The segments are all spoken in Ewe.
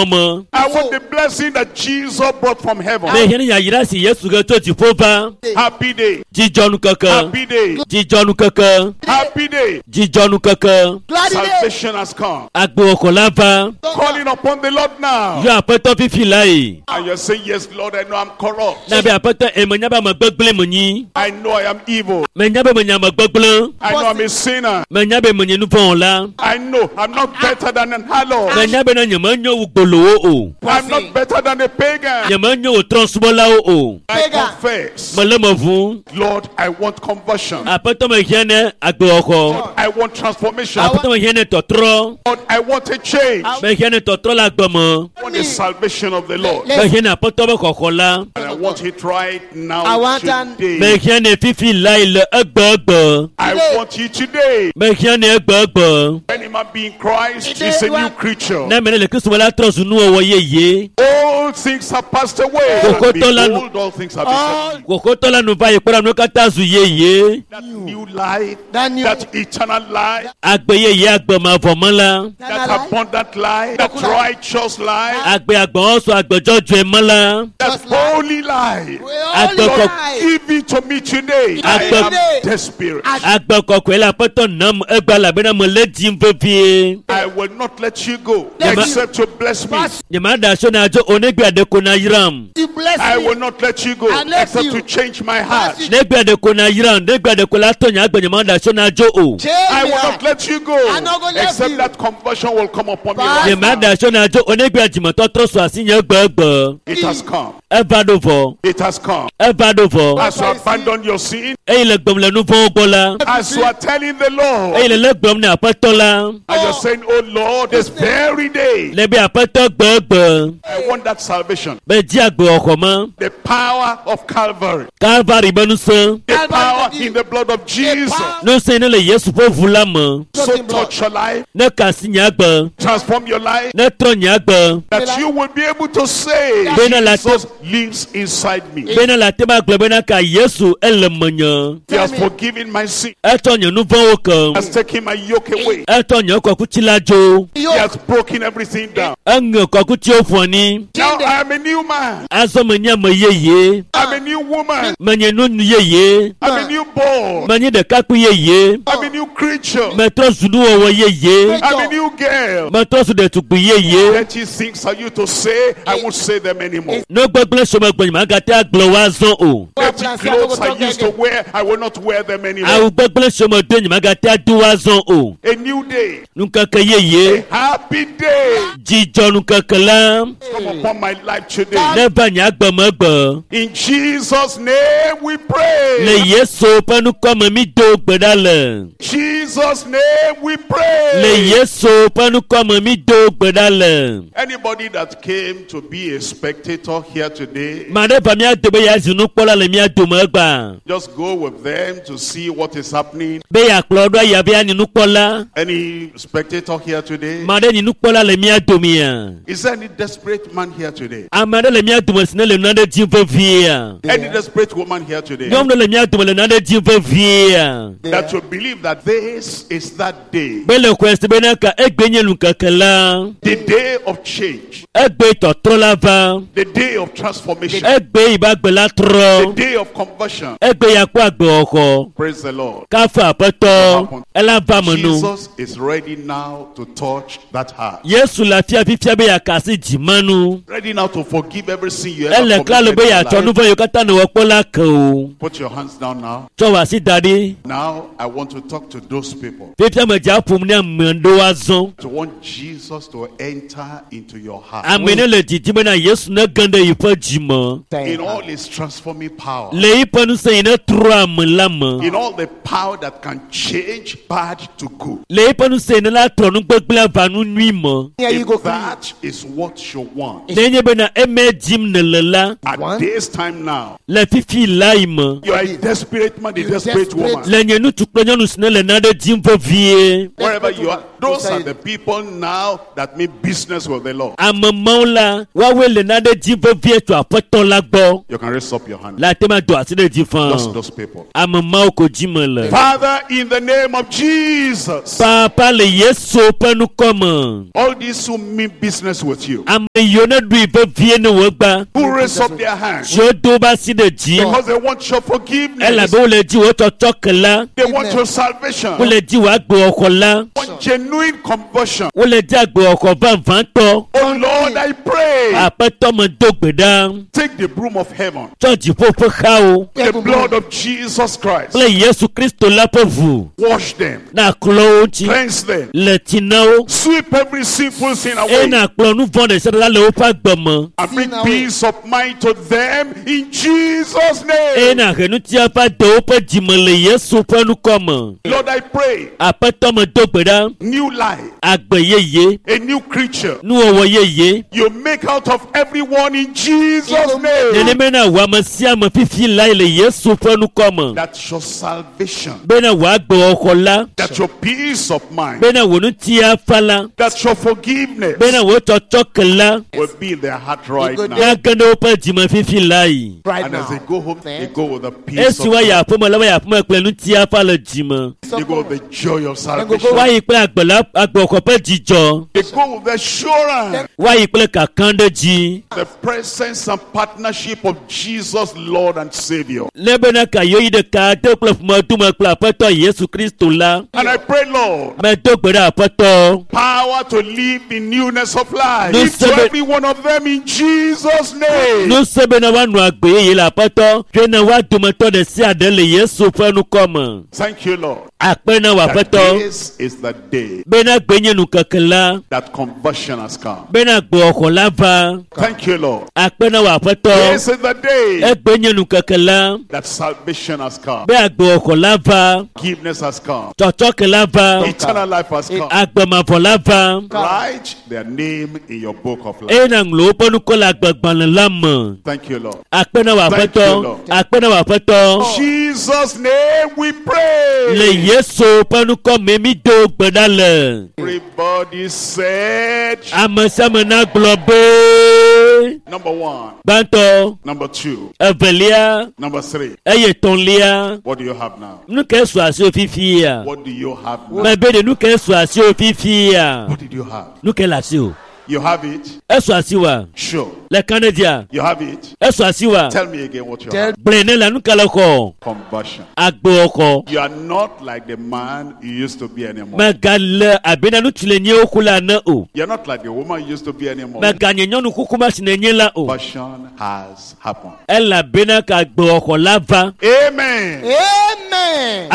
me. I want the blessing that Jesus brought from heaven. Mehiã ne yayra si Yesu he tso dziƒo va. Happy day. Dzidzɔnukeke. Happy day. Dzidzɔnukeke. Happy day. Dzidzɔnukeke. Glad day. Salvation has come. Agbewɔxɔ la va. Calling upon the Lord now. Yɔ aƒetɔ fifi la yi. And you're saying, Yes, Lord, I know I'm corrupt. Na be aƒetɔ emenya be ame gbegblẽ menyi. I know I am evil. Menya be menye ame gbegblẽ. I know I'm a sinner. Menya be menye nuvɔwɔla. I know I'm not better than an harlot. Menya be na nyemenyo wu gbolowo o. I'm not better than a pagan. Nyemenyo wu trɔ̃subɔlawo o. I Pagan. confess. Mele me ʋu. Lord, I want conversion. Aƒetɔ mehiã ne agbewɔxɔ. I want transformation. Aƒetɔ mehiã ne tɔtrɔ. Lord, I want a change. I Mehiã ne tɔtrɔ le agbe me. want the salvation of the Lord. Mehiã ne aƒetɔ be xɔxɔ la. And I want it right I now want an- today. Mehiã ne fifi la yi le egbegbe. I want it today. Mehiã ne egbegbe. Any man be in Christ is a new creature. Ne ame ɖe le Kristo me la trɔ zu nuwɔwɔ yeye. All things have passed away. Koko tola- Behold, all things have become new. Kòkótɔ la nu va yi kpɔ ɖa nuwo katã zu yeye. That new life, That new- that eternal life, Agbe yeye agbe mavɔ me la. that abundant life, that righteous life, Agbe agbɔwɔsɔ agbe dzɔdzɔe me la. that Just life. holy life. Holy Agbe Lord, life. give it to me today. I Agbe- am desperate. Agbe kɔkɔe le aƒetɔ nam egbe elabena mele dim vevie. I will not let you go Yeah, but- except to bless me. Nyemaɖe asi na dzo o negbe aɖe ko na yram. You bless I me. will not let you go Unless except you- to change my heart. Bless you. Negbe aɖe ko na yram, negbe aɖe ko la tɔ nye agbe nyemaɖe asi na dzo o. Change I me will not heart. let you go I'm not gonna let except you. that conversion will come upon me Bye. right Nyemaɖe now. asi na dzo o negbe dzimetɔtrɔ su asi nye egbegbe. It has come. Eva ɖo vɔ. It has come. Eva ɖo vɔ. As you abandon your sin, Eye le gblɔm le nu vɔ̃wo gbɔ la. as you are telling the Eye Lord, le le gblɔm ne aƒetɔ la. and you're saying, Oh Lord, this very day, Le be aƒetɔ gbegbe. I want that salvation. Be dzi agbewɔxɔ me. The power of Calvary, Kalvari be ŋusẽ. the Calvary power the in the blood of Jesus. power- Ŋusẽ ne le Yesu ƒe ʋu la me. So touch your life, Ne kasi nye agbe. transform your life, Ne trɔ nye agbe. that you will be able to say, Bena la Jesus lives inside me. Bena le ate ma gblɔ bena ka Yesu ele menye. He has forgiven my sin, Etsɔ nye nu vɔ̃wo ke. has taken my yoke away, Etsɔ nye kɔkuti la dzo. he has broken everything down. Eŋe kɔkutiwo ƒo anyi. Now I am a new man, Azɔ menye ame yeye. I'm a new woman, Menye nyɔnu yeye. I'm a new boy, Menye ɖekakpui yeye. I'm a new creature, Metrɔ zu nuwɔwɔ yeye. I'm a new girl. Metrɔ zu ɖetugbui yeye. Dirty things are you to say, I won't say them anymore. Nu gbegblẽ si megblɔ nye magate agblɔ wo azɔ o. Dirty clothes I used to wear, I will not wear them anymore. Awu gbegblẽ si medo nye magate ado wo azɔ o. A new day, Nukeke yeye. a happy day Dzidzɔ nukeke la. come upon my life today. Neva nye agbe me gbe. In Jesus' name we pray. Le Yesu ƒe ŋkɔ me mi do gbe ɖa le. Jesus' name we Le pray. Yesu ƒe ŋkɔ me mi do gbe ɖa le. Anybody that came to be a spectator here today, Ma ɖe va mía dome ya zu nukpɔla le mía dome egbea. just go with them to see what is happening. Be yeakplɔ ɖo eya be yanyi nukpɔla. Any spectator here today? Ma ɖe nyi nukpɔla le mía domea. Is there any desperate man here today? Ame aɖe le mía dome si ne le nane dim veviea. Any desperate woman here today? Nyɔnu ɖe le mía dome le nane dim veviea. That you believe that this is that day, Be le xɔe se bena ka egbe nye nukeke la. the day of change, Egbe tɔtrɔ la va. the day of transformation, Egbe yi be agbe la the trɔ. day of conversion. Egbe ya kpɔ agbewɔxɔ. Praise the Lord. Kafu aƒetɔ ela va me nu. Jesus is ready now to touch that heart. Yesu le afia fifia be yeakasi dzimanu. Ready now to forgive every sin you ever Ele klalo committed be in your yeatsɔ life. nu vɔ̃ yiwo katã nèwɔ kpɔ la ke o. Put your hands down now. Tsɔ wò asi da ɖi. Now I want to talk to those people Fifia me dza ƒom ne ame ɖewo azɔ. to want Jesus to enter into your heart Ame ne le didim bena Yesu ne ge ɖe yiƒe dzime. in all his transforming power, Le yiƒe ŋusẽ yi ne trɔ ame la me. in all the power that can change bad to good. Le yiƒe ŋusẽ yi ne la trɔ nugbegblẽ va nu nyui me. Here you go. If that is what you want Ne nye bena eme dim nèle la at Want? this time now, le fifi la yi me. you are a desperate man, a You desperate desperate woman. Le nye ŋutsu kple nyɔnu si ne le nane dim vevie. Wherever you are, Those are the people now that mean business with the Lord. Ame mawo la woawoe le nane dzi vevie tso aƒetɔ la gbɔ. You can raise up your hand. Le ate ma do asi ɖe dzi Just faa. those people. Ame mawo ko dzi me le. Father, in the name of Jesus, Papa le Yesu ƒe ŋkɔ me. all these who mean business with you, Ame yiwo ne ɖui vevie ne wògba. who raise up their hands Siwo do woƒe asi ɖe dzi. because they want your forgiveness, Elabe wole dzi wò tsɔtsɔ ke la. they want your salvation, they Wole dzi wò agbewɔxɔ la. want genuine conversion. Wole dzi agbewɔxɔ vavãtɔ. Oh Lord, I pray, Aƒetɔ me do gbe ɖa. take the broom of heaven, Tsɔ dziƒo ƒe xawo the blood of Jesus Christ, kple Yesu Kristo la ƒe ʋu. wash them, Na klɔ wo ŋuti. cleanse them, Le tsi na wo. sweep every sinful sin Eye away, na kplɔ nu vɔ̃ ɖe sia ɖe la le woƒe agbe me. and bring Sin away. peace of mind to them in Jesus' Eye name. na he ŋutia va de woƒe dzime le Yesu ƒe ŋkɔ me. Lord, I pray, Aƒetɔ me do gbe ɖa. new life, Agbe yeye, a new creature. nuwɔwɔ yeye. You make out of everyone in Jesus' name. Nenema na wò ame sia ame fifi lae le Yesu ƒe ŋkɔ me. That your salvation, Bena wò agbewɔxɔ la, that your peace of mind, bena wò ŋutia fa la, that your forgiveness bena wò tsɔtsɔ ke la, will be in their heart right Good now. nage ɖe woƒe dzime fifi lae. Right And as they now. go home, they go with the peace Esi of woayi God. aƒeme la, woayi aƒeme kple ŋutia fa le dzime. They go with the joy of salvation. Woayi kple agbe la, agbewɔxɔ ƒe dzidzɔ. They go with the assurance, Woayi kple kakã ɖe dzi. the presence and partnership of Jesus, Lord and Savior. Ne bena ka yewoyi ɖeka de kple ƒomedume kple aƒetɔ Yesu Kristo la. And I pray, Lord, Medo gbe ɖe aƒetɔ. power to live in newness of life. No Give to seven- every one of them in Jesus' name. Nuse bena woanɔ agbe yeye le aƒetɔ. Tsoe na woa dometɔ ɖe sia ɖe le Yesu ƒe ŋkɔ me. Thank you, Lord. Akpe na wò That aƒetɔ. this is the day Bena gbe nye nukeke la. that conversion has come. Bena agbewɔxɔ la va. Thank you, Lord. Akpe na wò aƒetɔ. This is the day Egbe nye nukeke la. that salvation has come. Be agbewɔxɔ la va. Forgiveness has come. Tsɔtsɔke la va. Eternal life has come. Agbemavɔ la va. Write their name in your book of life. Eye na ŋlɔ woƒe ŋkɔ le agbegbalẽ la me. Thank you, Lord. Akpe na wò Thank you, aƒetɔ. Lord. Akpe na wò aƒetɔ. Jesus' name we Le pray. Yesu ƒe ŋkɔ me mi do gbe ɖa le. Everybody said, Ame sia ame nagblɔ be number one, gbãtɔ, number two, evelia, number three. eye etɔ̃lia. What do you have now? Nu ke su asiwò fifia? What do you have now? Mebe ɖe nu ke su asiwò fifia? What did you have? Nu ke le asiwò? You have it? Esu asiwòa? Sure. Le kan ɖe dzia? You have it? Esu asiwòa? Tell me again what you Tell have. Gblɔe ne la nu ke le xɔ? Conversion. Agbewɔxɔ. You are not like the man you used to be anymore. Megale abe na ŋutsu le nye woku la ene o. You're not like the woman you used to be anymore. Meganye nyɔnu kuku ma si nenye la o. Conversion has happened. Elabena ka agbewɔxɔ la va. Amen. Amen.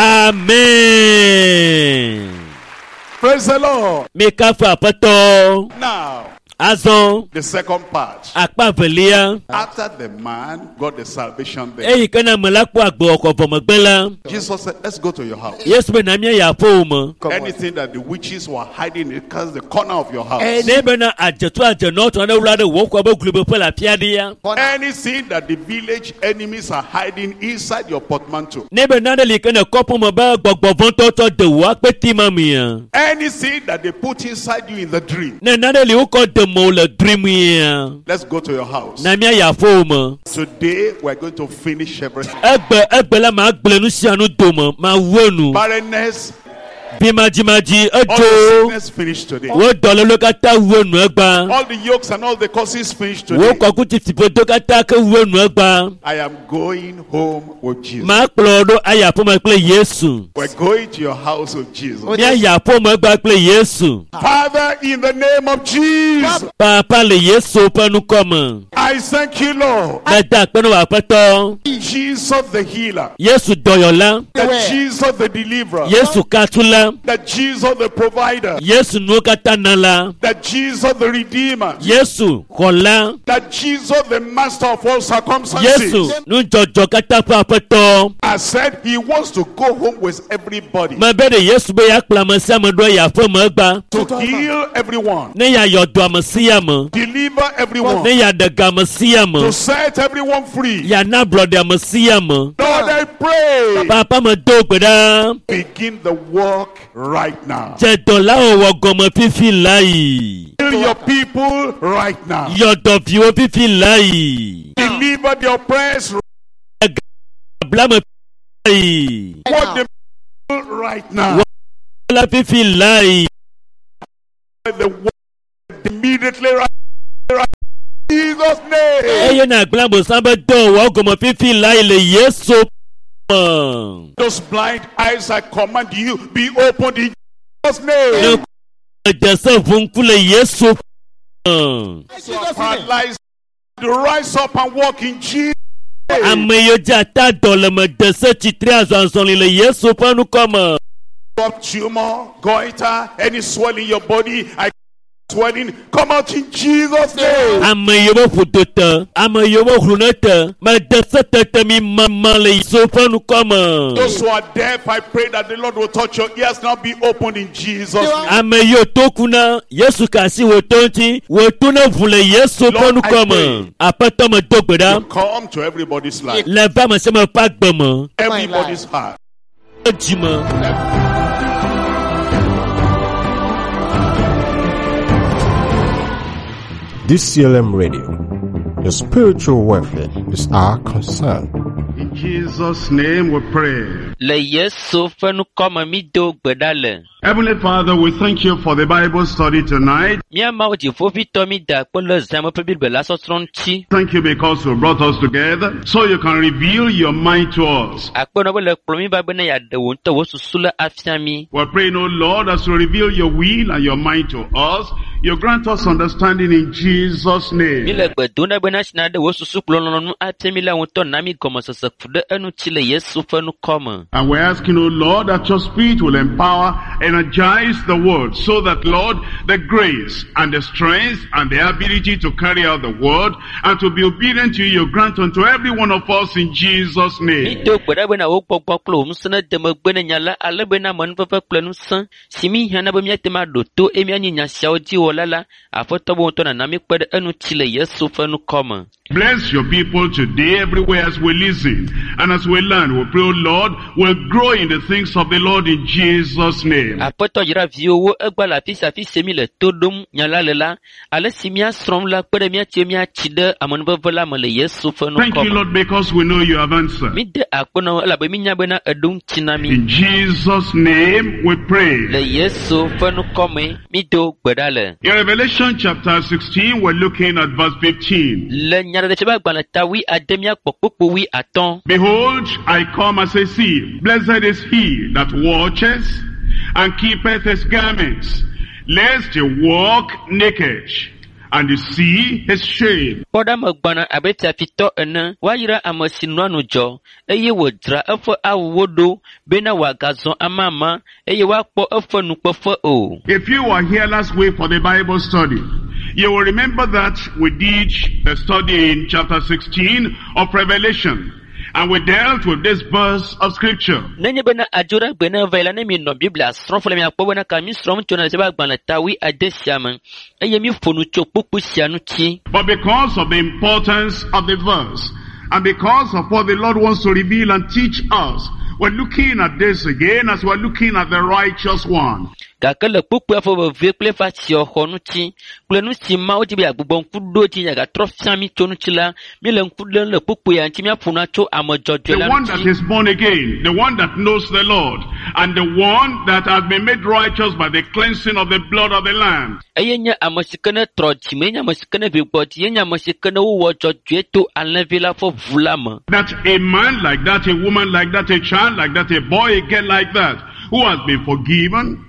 Amen. Praise the Lord. Mikafu aƒetɔ. Now, Azɔ the second part. akpa velia. After the man got the salvation there, Eyi ke na ame la kpɔ agbewɔxɔ vɔ megbe la, Jesus said, Let's go to your house. Yesu be na mía yi aƒewò me. Come on. Anything that the witches were hiding in the corner of your house. Any- Ne bena adzeto adzenɔ tɔ aɖe wla ɖe wò xɔ be glubeƒe le afi aɖea. Corner. Anything that the village enemies are hiding inside your portmanteau. Ne be nane li ke ne kɔƒe me be gbɔgbɔvɔ̃tɔ tsɔ de wò akpeti ma mea. Anything that they put inside you in the dream. Ne nane li wokɔ de mewò le dreamia. Let's go to your house. Na mía yi aƒewò me. Today we're going to finish everything. Egbe egbe la ma gblẽ nu sia nu dome, ma wu enu. Barrenness, Bimadzimadzi all the edzo. sickness finished today. Wo dɔléle katã wu enu egba. All the yokes and all the curses finished Wo today. kɔkuti katã ke wu enu egba. I am going home with Jesus. Ma kplɔ ɖo ayi aƒeme kple Yesu. We're going to your house with Jesus. Míayi aƒeme egba kple Yesu. Father, in the name of Jesus, Papa le Yesu ƒe ŋkɔ me. I thank you, Lord. Meda akpe na wò aƒetɔ. Jesus the healer, Yesu dɔyɔla. that Where? Jesus the deliverer, Yesu katula. that Jesus the provider, Yesu nuwo katã nala. that Jesus the redeemer, Yesu xɔla. that Jesus the master of all circumstances. Yesu nudzɔdzɔ katã ƒe aƒetɔ. I said he wants to go home with everybody, Mebe ɖe Yesu be yeakplɔ ame sia ame ɖo ayi aƒeme egba. to heal everyone, Ne yeayɔ dɔ ame sia ame. deliver everyone, Ne yeaɖe ga ame sia to ame set everyone free. yana ablɔɖe ame sia ame Lord, I pray. papa me do gbe ɖa Begin the work right now. dze dɔ la wɔwɔ gɔme fifi la yi Heal your people right now. yɔ dɔviwo fifi la yi Deliver the oppressed. ablame la yi What the people right now. la fifi la yi The work immediately right, right. Jesus' name. eye na gblẽ abosam be dɔwɔwɔ gɔme fifi la yi le yesu me. Those blind eyes, I command you, be opened in Jesus' name. Ne dze ʋu ŋku le yesu me. Paralyzed, rise up and walk in Jesus' name. Ame yiwo dze ata dɔ le me de se tsitre azɔ azɔli le yesu ƒe ŋkɔ me. Up tumor, goiter, any swelling in your body, I swelling, come out in Jesus' name. Ame yiwo be ƒodo te, ame yiwo be hlune te, me de se tete mi mama le yesu ƒe ŋkɔ me. Those who are deaf, I pray that the Lord will touch your ears now be opened in Jesus' name. Ame yiwo to ku na yesu ka asi wò to ŋuti, wò to ne ʋu le yesu ƒe Lord, I ŋkɔ me. Aƒetɔ me do gbe ɖa Come to everybody's life, le va ame sia ame ƒe agbe me, everybody's heart. dzi me. DCLM Radio. Your spiritual welfare is our concern. In Jesus' name we pray. Le Yesu ƒe ŋkɔme mi do gbe ɖa le. Heavenly Father, we thank you for the Bible study tonight. Mía Mawu dziƒoʋĩtɔ mi da akpe le zãme ƒe Biblia la sɔsrɔ̃ ŋuti. Thank you because you brought us together so you can reveal your mind to us. Akpe nɔ be le kplɔ mi va bena yeaɖe wò ŋutɔ wò susu le afia mi. We're praying, O Lord, as you reveal your will and your mind to us, you grant us understanding in Jesus' Mi name. le gbe dom ɖa bena si naɖe wò susu kple lɔlɔ̃nu afia mi la ŋutɔ na mi gɔmesese ku ɖe eŋuti le Yesu ƒe ŋkɔ me. And we're asking, O Lord, that your Spirit will empower, energize the word so that, Lord, the grace and the strength and the ability to carry out the word and to be obedient to you, you grant unto every one of us in Jesus' Mi name. do gbe ɖa bena wò gbɔgbɔ kple wò ŋusẽ nede megbe ne nya la ale bena amenuveve kple ŋusẽ si mi hiã na be míate ŋu aɖo to eye míanyi nya siawo dzi wɔla la, Aƒetɔ be ŋutɔ nana mi kpe ɖe eŋuti le Yesu ƒe ŋkɔ me. Bless your people today everywhere as we listen and as we learn. We pray, O Lord, we'll grow in the things of the Lord in Jesus' name. Aƒetɔ yra viwòwo egba le afi sia afi si mi le to ɖom nya la le la, ale si míasrɔ̃m la kpe ɖe míatsi míatsi ɖe amenuveve la me le Yesu ƒe Thank ŋkɔ you, me. Lord, because we know you have answered. Mi de akpe na wò elabe mínya bena èɖo ŋuti na mí. In Jesus' name we Le pray. Yesu ƒe ŋkɔ me, mi do gbe ɖa le. In Revelation chapter 16, we're looking at verse 15. Le nyaɖeɖefia ƒe agbalẽ ta wuiade míakpɔ kpukpu wuiatɔ̃. Behold, I come as a thief. Blessed is he that watches and keepeth his garments, lest he walk naked and see his shame. Kpɔ ɖa megbɔna abe fiafitɔ ene. Woayra ame si nɔa ŋudzɔ eye wòdzra eƒe awuwo ɖo bena wòagazɔ amama eye woakpɔ eƒe nukpeƒe o. If you were here last week for the Bible study, you will remember that we did the study in chapter 16 of Revelation, and we dealt with this verse of scripture. Nenye bena adzo ɖe gbe ne va yi la, ne mi nɔ Biblia srɔ̃m fɔ la, miakpɔ bena ka mi srɔ̃m tso nyateƒe agbalẽ ta wuiade sia me eye mi ƒo nu tso kpukpui sia ŋuti. But because of the importance of the verse, and because of what the Lord wants to reveal and teach us, we're looking at this again as we're looking at the righteous one. Gake le kpukpuia ƒe vevie kple eƒe atsiɔxɔ ŋuti kple nu si Mawu di be yeagbugbɔ ŋku ɖo dzi yeagatrɔ fia mi tso ŋuti la, míele ŋku lém le kpukpuia ŋuti míaƒo nu tso ame dzɔdzɔe The la one that ŋuti. is born again, the one that knows the Lord, and the one that has been made righteous by the cleansing of the blood of the Lamb. Eye nye ame si ke ne trɔ dzime, nye ame si ke ne vi gbɔ dzi, ye nye ame si ke ne wowɔ dzɔdzɔe to alẽvi la ƒe ʋu la me. That a man like that, a woman like that, a child like that, a boy, a girl like that, who has been forgiven,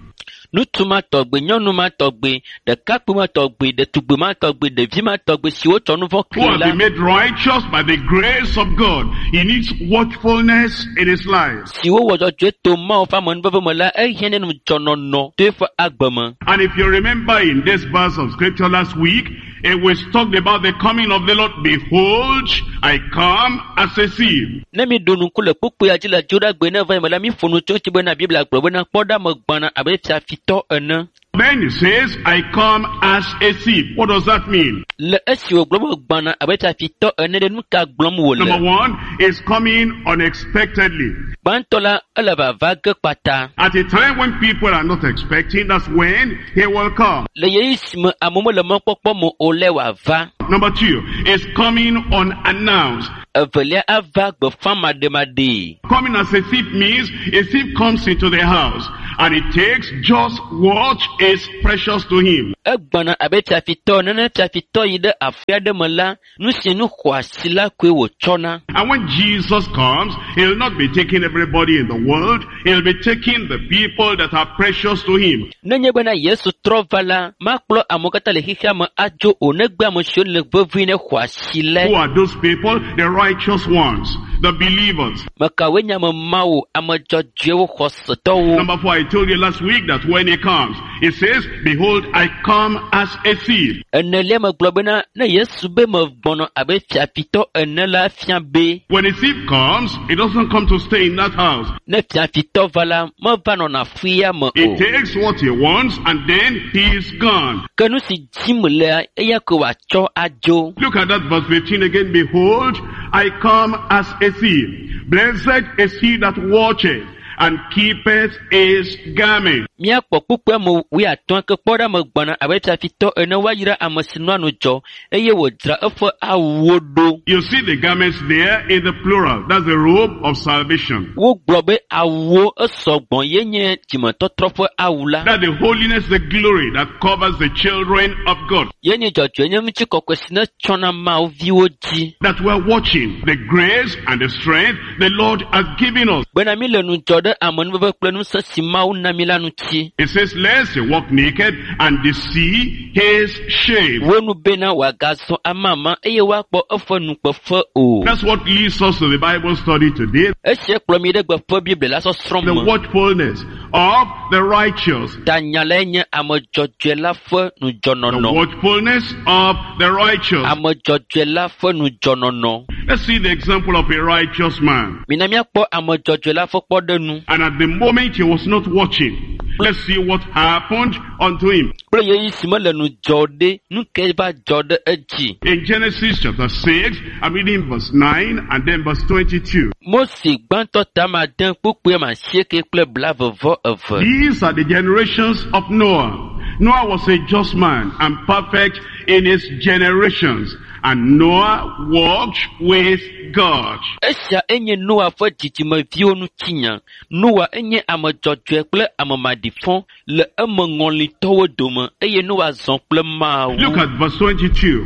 Ŋutsu ma tɔgbe, nyɔnu ma tɔgbe, ɖekakpui ma tɔgbe, ɖetugbi ma tɔgbe, ɖevi ma tɔgbe si wotsɔ nu vɔ̃ who kee has la, been made righteous by the grace of God, he needs watchfulness in his life. si wowɔ dzɔdzɔe to Mawu ƒe amenuveve me la, ehiã ne ŋudzɔnɔnɔ to eƒe agbe me. And if you remember in this verse of scripture last week, it was talked about the coming of the Lord. Behold, I come as a thief. Ne mi ɖo ŋku le kpukpuia dzi le dzoɖagbe ne va yi me la, mi ƒo nu tso eŋuti bena Biblia gblɔ bena kpɔ ɖa megbɔna abe fiafitɔ fiafitɔ ene. Then he says, I come as a thief. What does that mean? Le esi wògblɔ be gbɔna abe fiafitɔ ene ɖe nu ka gblɔm Number wòle? one, is coming unexpectedly. Gbãtɔ la, ele vava ge kpata. At a time when people are not expecting, that's when he will come. Le ɣeyiɣi si me amewo mele mɔkpɔkpɔ me o lae wòava. Number two, is coming unannounced. Evelia ava gbeƒã maɖemaɖee. Coming as a thief means a thief comes into the house and he takes just what is precious to him. Egbɔna abe fiafitɔ ene. Ne fiafitɔ yi ɖe afi aɖe me la, nu si nu xɔasi la koe wòtsɔna. And when Jesus comes, he'll not be taking everybody in the world. He'll be taking the people that are precious to him. Nenye bena Yesu trɔ va la, makplɔ amewo katã le xexea me adzo o negbe ame siwo le vevie ne xɔasi Who lae. are those people? The righteous ones, the believers. Mekawoe nye ame mawo, ame dzɔdzɔewo, xɔsetɔwo. Number four, I told you last week that when he comes, he says, Behold, I come as a thief. Enelia megblɔ bena ne Yesu be megbɔnɔ abe fiafitɔ ene la fia be When a thief comes, he doesn't come to stay in that house. ne fiafitɔ va la, meva nɔna afi ya me He o. takes what he wants and then he is gone. Ke nu si dzim lea, eya koe wòatsɔ adzo. Look at that verse 15 again. Behold, I come as a thief. Blessed is he that watcheth and keepeth his garment. Míakpɔ kpukpui ame wuiatɔ̃ ke kpɔ ɖa megbɔna abe fiafitɔ ene woayra ame si nɔa nu dzɔ eye wòdzra eƒe awuwo ɖo. You see the garments there in the plural. That's the robe of salvation. Wogblɔ be awuwo esɔgbɔ ye nye dzimetɔtrɔ ƒe awu la. That's the holiness, the glory that covers the children of God. Ye nye dzɔdzɔenye ŋutikɔkɔe si ne tsɔna Mawu viwo dzi. That we're watching the grace and the strength the Lord has given us. Bena mi le ŋudzɔ ɖe amenuveve kple ŋusẽ si Mawu na mi la ŋuti. It says, lest he walk naked and they see his shame. Wo nu bena wòagazɔ amama eye woakpɔ eƒe nukpefe o. That's what leads us to the Bible study today. Esia kplɔ mi ɖe gbeƒe Biblia la sɔsrɔ̃ The me. watchfulness of the righteous. Ta nya lae nye ame dzɔdzɔe la ƒe The ŋudzɔnɔnɔ. watchfulness of the righteous. Ame dzɔdzɔe la ƒe ŋudzɔnɔnɔ. Let's see the example of a righteous man. Mina míakpɔ ame dzɔdzɔe la ƒe kpɔɖeŋu And at the moment he was not watching, let's see what happened unto him. kple ɣeyiɣi si mele ŋudzɔ ɖe, nu kae va dzɔ ɖe edzi. In Genesis chapter 6, I'm reading verse 9 and then verse 22. Mose gbãtɔ ta ade kpukpui ame asieke kple blaeve-vɔ-eve. These are the generations of Noah. Noah was a just man and perfect in his generations. And Noah walked with God. Esia enye Noa ƒe dzidzimeviwo ŋutinya. Noa enye ame dzɔdzɔe kple ame maɖifɔ le emeŋɔlitɔwo dome eye Noa zɔ kple Mawu. Look at verse 22.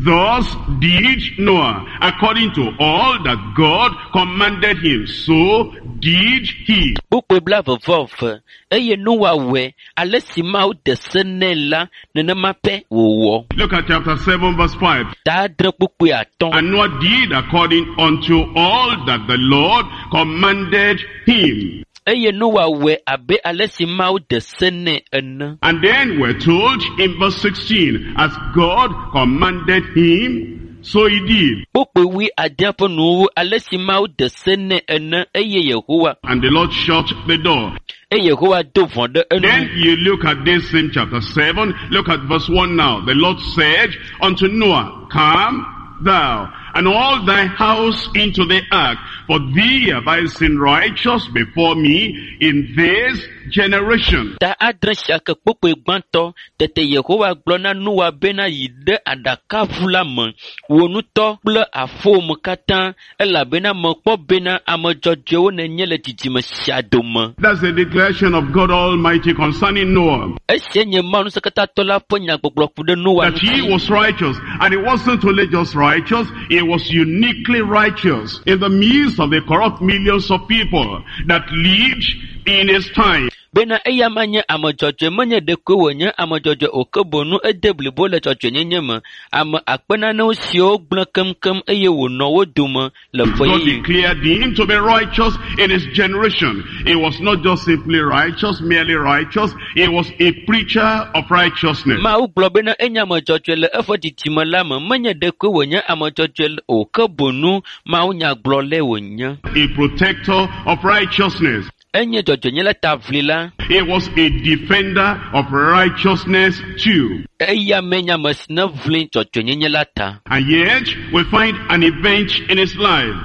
Thus did Noah, according to all that God commanded him, so did he. Kpukpui blaeve-vɔ-eve eye Noa wɔe ale si Mawu de se nɛ la nenema pɛ wòwɔ. Look at chapter 7 verse 5. Ta adre kpukpui atɔ̃. And Noah did according unto all that the Lord commanded him. Eye Noa wɔe abe ale si Mawu de se nɛ ene. And then we're told in verse 16, as God commanded him, so he did. Kpukpui wui adea ƒe nuwuwu ale si Mawu de se nɛ ene eye Yehowa And the Lord shut the door. eye Yehowa do vɔ̃ ɖe enu. Then you look at this same chapter 7, look at verse 1 now. The Lord said unto Noah, Come thou and all thy house into the ark, for thee have I seen righteous before me in this generation. Ta adre sia ke kpukpui gbãtɔ tete Yehowa gblɔ na Noa bena yi ɖe aɖakaʋu la me, wò ŋutɔ kple aƒewò me katã elabena mekpɔ bena ame dzɔdzɔewo nènye le dzidzime sia dome. That's the declaration of God Almighty concerning Noah. Esia nye Mawu Ŋusẽkatãtɔ la ƒe nyagbɔgblɔ ku ɖe Noa That he ŋuti. was righteous. And he wasn't only just righteous, he was uniquely righteous in the midst of the corrupt millions of people that lived in his time. Bena eya ma nye ame dzɔdzɔe menye ɖekoe wònye ame dzɔdzɔe o ke boŋ ede blibo le dzɔdzɔenyenye me. Ame akpe nanewo siwo gblẽ keŋkeŋ eye wònɔ wo dome le God ƒe declared him to be righteous in his generation. He was not just simply righteous, merely righteous. He was a preacher of righteousness. Mawu gblɔ bena enye ame dzɔdzɔe le eƒe dzidzime la me menye ɖekoe wònye ame dzɔdzɔe o ke boŋ Mawu nyagblɔlae wònye. A protector of righteousness. Enye dzɔdzɔenye taʋlila. He was a defender of righteousness too. Eya mee nye ame si ne ʋli dzɔdzɔenyenye la ta. And yet, we find an event in his life.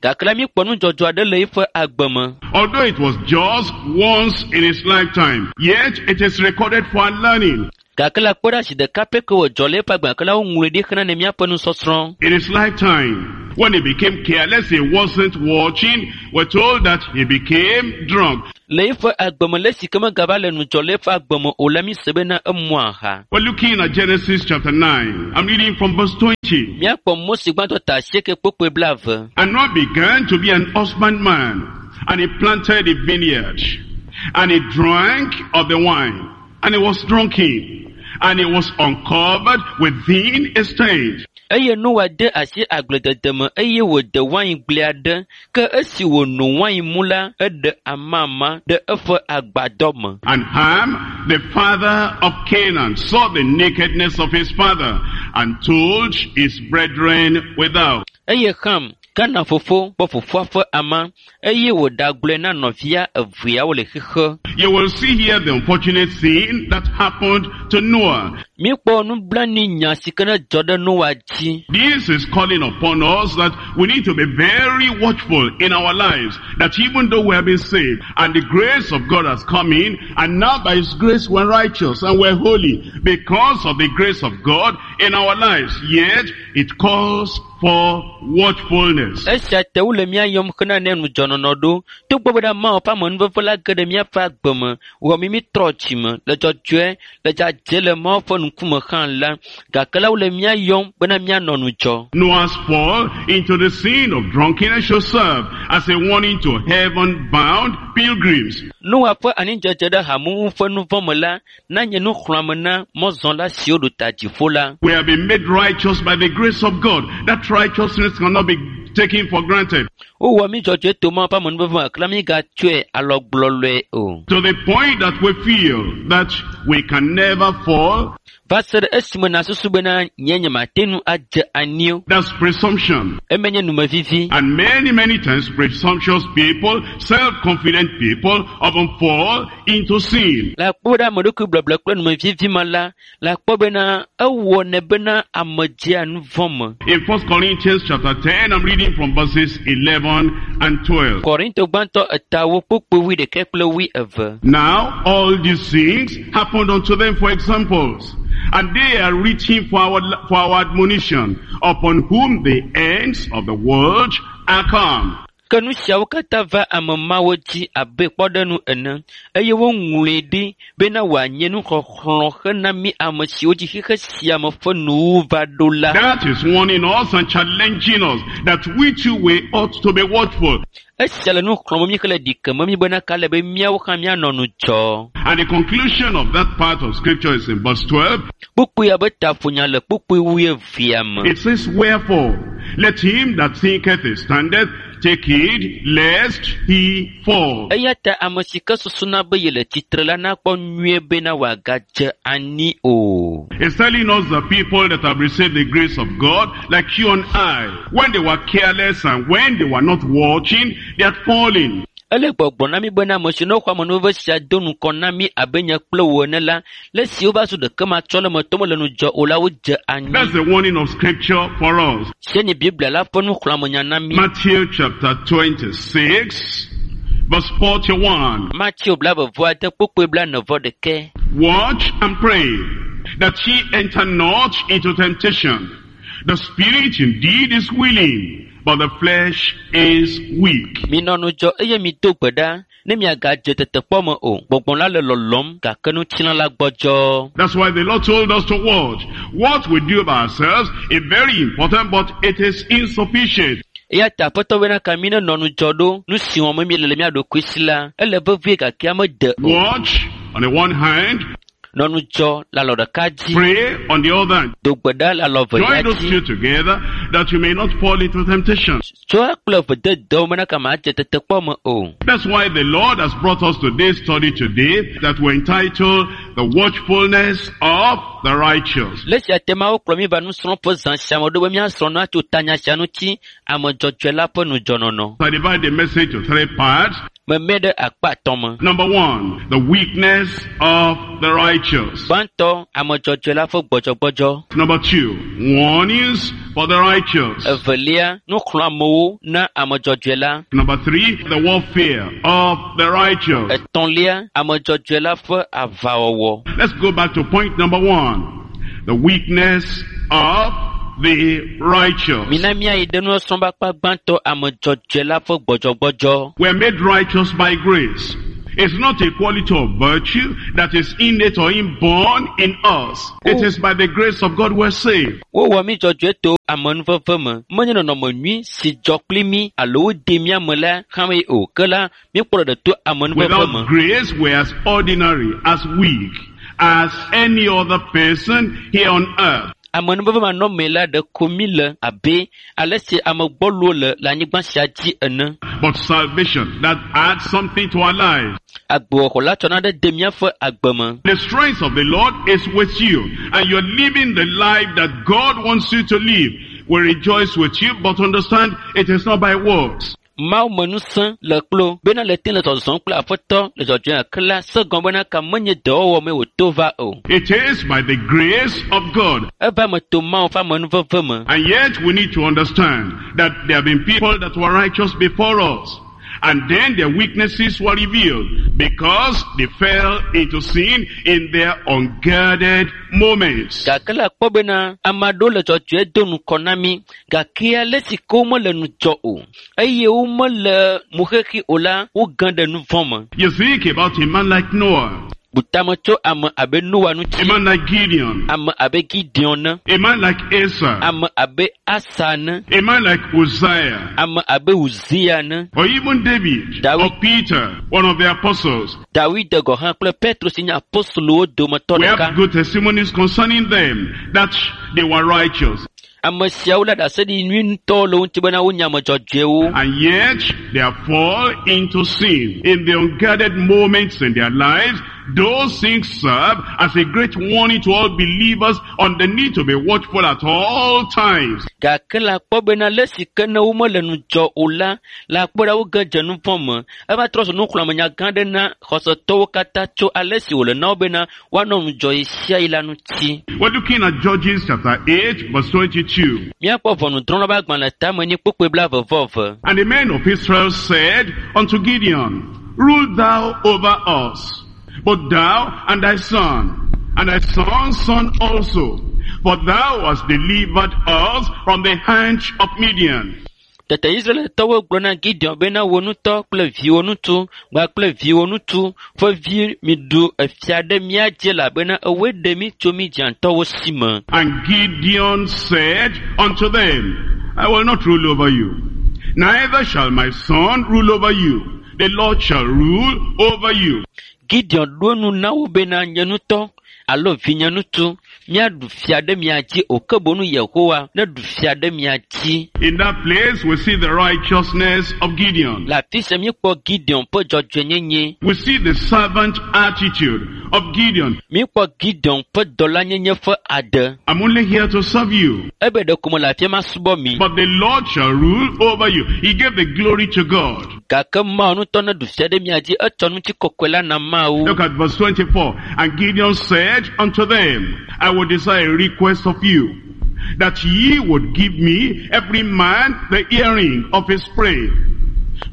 Gake la míekpɔ nudzɔdzɔ aɖe le eƒe agbe me. Although it was just once in his lifetime, yet it is recorded for our learning. Gake la kpɔ ɖe asi ɖeka pɛ ke wòdzɔ le eƒe agbe gake la woŋlɔe ɖi xlẽ ne míaƒe nusɔsrɔ̃. In his lifetime, when he became careless, he wasn't watching, we're told that he became drunk. Le eƒe agbe me le esi ke megava le ŋudzɔ le eƒe agbe me o la míse bena emu aha. We're looking at Genesis chapter 9. I'm reading from verse 20. Míakpɔ Mose gbãtɔ ta asieke kpokpoe blaeve. And Noah began to be an husbandman, and he planted a vineyard, and he drank of the wine, and he was drunken, and he was uncovered within his tent. Eye Noa de asi agbledede me eye wòde waingble aɖe ke esi wòno wain mu la, eɖe amama ɖe eƒe agbadɔ me. And Ham, the father of Canaan, saw the nakedness of his father, and told his brethren without. Eye Ham, Kana fofo, kpɔ fofoa ƒe ama eye wòɖagblɔe na nɔvia eveawo le xixe. You will see here the unfortunate thing that happened to Noah. Míekpɔ nublanuinya si ke ne dzɔ ɖe Noa dzi. This is calling upon us that we need to be very watchful in our lives. That even though we have been saved and the grace of God has come in, and now by His grace we're righteous and we're holy because of the grace of God in our lives. Yet it calls for watchfulness. Esia te wole mía yɔm xena ne ŋudzɔnɔnɔ ɖo. Togbɔ be ɖe Mawu ƒe amenuveve la ge ɖe míaƒe agbe me, wɔ mí mítrɔ dzime, le dzɔdzɔe, le dzadzɛ le Mawu ƒe ŋkume hã la, gake la wole mía yɔm bena míanɔ ŋudzɔ. Noah's fall into the sin of drunkenness should serve as a warning to heaven-bound pilgrims. Noa ƒe anidzedze ɖe hamumu ƒe nu vɔ̃ me la nanye nuxlɔ̃ame na mɔzɔla siwo ɖo ta dziƒo la. We have been made righteous by the grace of God. That righteousness cannot be taken for granted. Wowɔ mí dzɔdzɔe to Mawu ƒe amenuveve me gake la mígatsɔe alɔgblɔlɔe o. To the point that we feel that we can never fall, Va se ɖe esime nàsusu bena nye nyemate ŋu adze anyi o. that's presumption. Eme nye numevivi. And many, many times presumptuous people, self-confident people often fall into sin. Le akpɔ ɖe ame ɖokui blɔblɔ kple numevivi me la, le akpɔ bena ewɔnɛ bena ame dzea nu vɔ̃ me. In 1 Corinthians chapter 10, I'm reading from verses 11 and 12. Korinto gbãtɔ etawo kpukpui wuiɖekɛ kple wuieve. Now all these things happened unto them for examples, and they are written for our admonition, upon whom the ends of the world are come. Ke nu siawo katã va ame mawo dzi abe kpɔɖeŋu ene eye woŋlɔe ɖi bena wòanye nuxɔxlɔ̃ hena mí ame siwo dzi xexe sia me ƒe nuwuwu va ɖo la. That is warning us and challenging us that we too we ought to be watchful. Esia le nu xlɔ̃m mí hele ɖi keme mí bena ka le be míawo hã míanɔ ŋudzɔ. And the conclusion of that part of scripture is in verse 12. Kpukpui abe taƒonya le kpukpui wuievea me. It says, Wherefore, let him that thinketh he standeth take heed lest he fall. Eya ta ame si ke susuna be yele tsitre la nakpɔ nyuie bena wòagadze anyi o. It's telling us the people that have received the grace of God, like you and I, when they were careless and when they were not watching, they had fallen. Ele gbɔgblɔ na mí bena ame si ne woxɔ amenuveve sia do ŋgɔ na mí abe nye kple wò ene la, le esi wova zu ɖeke matsɔ le me to mele ŋudzɔ o la, wodze anyi. That's the warning of scripture for us. Sie nye Biblia la ƒe nuxlɔ̃amenya na mí. Matthew chapter 26, verse 41. Mateo blaeve-vɔ-ade kpukpui blaene-vɔ-ɖekɛ. Watch and pray that ye enter not into temptation. The spirit indeed is willing, but the flesh is weak. Minɔ ŋudzɔ eye mido gbe ɖa ne miagadze tetekpɔ me o. Gbɔgbɔ la le lɔlɔ̃m gake ŋutilã la gbɔdzɔ. That's why the Lord told us to watch. What we do by ourselves is very important, but it is insufficient. Eya ta Aƒetɔ bena ka mí nenɔ ŋudzɔ ɖo nu si wɔm míele le mía ɖokui si la, ele vevie gake mede o. Watch on the one hand, Nɔ ŋudzɔ le alɔ ɖeka dzi, pray on the other. do gbe ɖa le alɔ Join evelia those dzi. two together that you may not fall into temptation. Tsɔ kple eve de dɔwò bena ka madze tetekpɔ me o. That's why the Lord has brought us to this study today that we're entitled The Watchfulness of the Righteous. Le esia te Mawu kplɔ mí va nusrɔ̃ƒe zã sia me ɖo be míasrɔ̃ nu atso tanya sia ŋuti ame dzɔdzɔe la ƒe ŋudzɔnɔnɔ. I divide the message to three parts. Meme ɖe akpa atɔ̃ me. Number 1, the weakness of the righteous. Gbãtɔ, ame dzɔdzɔe la ƒe gbɔdzɔgbɔdzɔ. Number 2, warnings for the righteous. Evelia, nuxlɔ̃amewo na ame dzɔdzɔe la. Number 3, the warfare of the righteous. Etɔ̃lia, ame dzɔdzɔe la ƒe aʋawɔwɔ. Let's go back to point number 1. The weakness of the righteous. Mina míayi ɖe nusɔsrɔ̃ ƒe akpa gbãtɔ, ame dzɔdzɔe la ƒe gbɔdzɔgbɔdzɔ. We're made righteous by grace. It's not a quality of virtue that is innate or inborn in us. It is by the grace of God we're saved. Wowɔ mí dzɔdzɔe to amenuveve me. Menye nɔnɔme nyui si dzɔ kpli mí alo wode mía me la hã mee o. Ke la, míekpɔ ɖeɖe to amenuveve Without me. grace, we're as ordinary, as weak, as any other person here on earth. Amenuveve manɔmee la ɖeko mí le abe ale si ame gbɔlowo le le anyigba sia dzi ene. But salvation, that adds something to our lives. Agbewɔxɔ la tsɔna ɖe de míaƒe agbe me. The strength of the Lord is with you, and you're living the life that God wants you to live. We rejoice with you, but understand it is not by works. Mawu me ŋusẽ le kplo bena le te le zɔzɔm kple aƒetɔ le dzɔdzɔe ke la se gɔme bena ka menye dɔwɔwɔ mee wòto va o. It is by the grace of God. Eva me to Mawu ƒe amenuveve me. And yet we need to understand that there have been people that were righteous before us. And then their weaknesses were revealed because they fell into sin in their unguarded moments. Gake la kpɔ bena ame aɖewo le dzɔdzɔe do ŋgɔ na mí gake ale si ke womele ŋudzɔ o eye womele moxexi o la woge ɖe nu vɔ̃ me. You think about a man like Noah, Bu tame tso ame abe Noa a ŋuti, man like Gideon, ame abe Gideon ne, a man like Asa, ame abe Asa ne, a man like Uzziah, ame abe Uzia ne, or even David, David. or Peter, one of the apostles. Dawid gɔ̃ hã kple Petro si nye apostolowo dometɔ We ɖeka. have good testimonies concerning them that they were righteous. Ame siawo la ɖaseɖi nyui ŋutɔ le wo ŋuti bena wonye ame dzɔdzɔewo. And yet, they fall into sin. In the unguarded moments in their lives, those things serve as a great warning to all believers on the need to be watchful at all times. Gake la kpɔ bena le si ke ne womele ŋudzɔ o la, la kpɔ ɖa woge dze nu vɔ̃ me. Eva trɔ zu nuxlɔ̃amenya gã aɖe na xɔsetɔwo katã tso ale si wòle na wo bena woanɔ ŋudzɔ ɣe sia ɣi la ŋuti. We're looking at Judges chapter 8, verse 22. Míakpɔ ʋɔnudrɔ̃la ƒe agbalẽ tame nyi kpukpui blaeve-vɔ-eve. And the men of Israel said unto Gideon, Rule thou over us, but thou and thy son, and thy son's son also, for thou hast delivered us from the hand of Midian. Tete Israeltɔwo gblɔ na Gideon bena wò ŋutɔ kple viwò ŋutsu kpakple viwò ŋutsu ƒe vi miɖu efia ɖe mía dzi elabena ewɔe ɖe mí tso Midiantɔwo si me. And Gideon said unto them, I will not rule over you, neither shall my son rule over you. The Lord shall rule over you. Gideon ɖo nu na wo bena nye ŋutɔ alo vinye ŋutsu míaɖu fia ɖe mia dzi o ke boŋ Yehowa neɖu fia ɖe mia dzi. In that place we see the righteousness of Gideon. Le afi sia míekpɔ Gideon ƒe dzɔdzɔenyenye. We see the servant attitude of Gideon. Míekpɔ Gideon ƒe dɔlanyenye ƒe ade. I'm only here to serve you. Ebe ɖeko mele afi ma subɔ mi. But the Lord shall rule over you. He gave the glory to God. Gake Mawu ŋutɔ neɖu fia ɖe mia dzi etsɔ ŋutikɔkɔe la na Mawu. Look at verse 24. And Gideon said unto them, I would desire a request of you, that ye would give me every man the earring of his prey.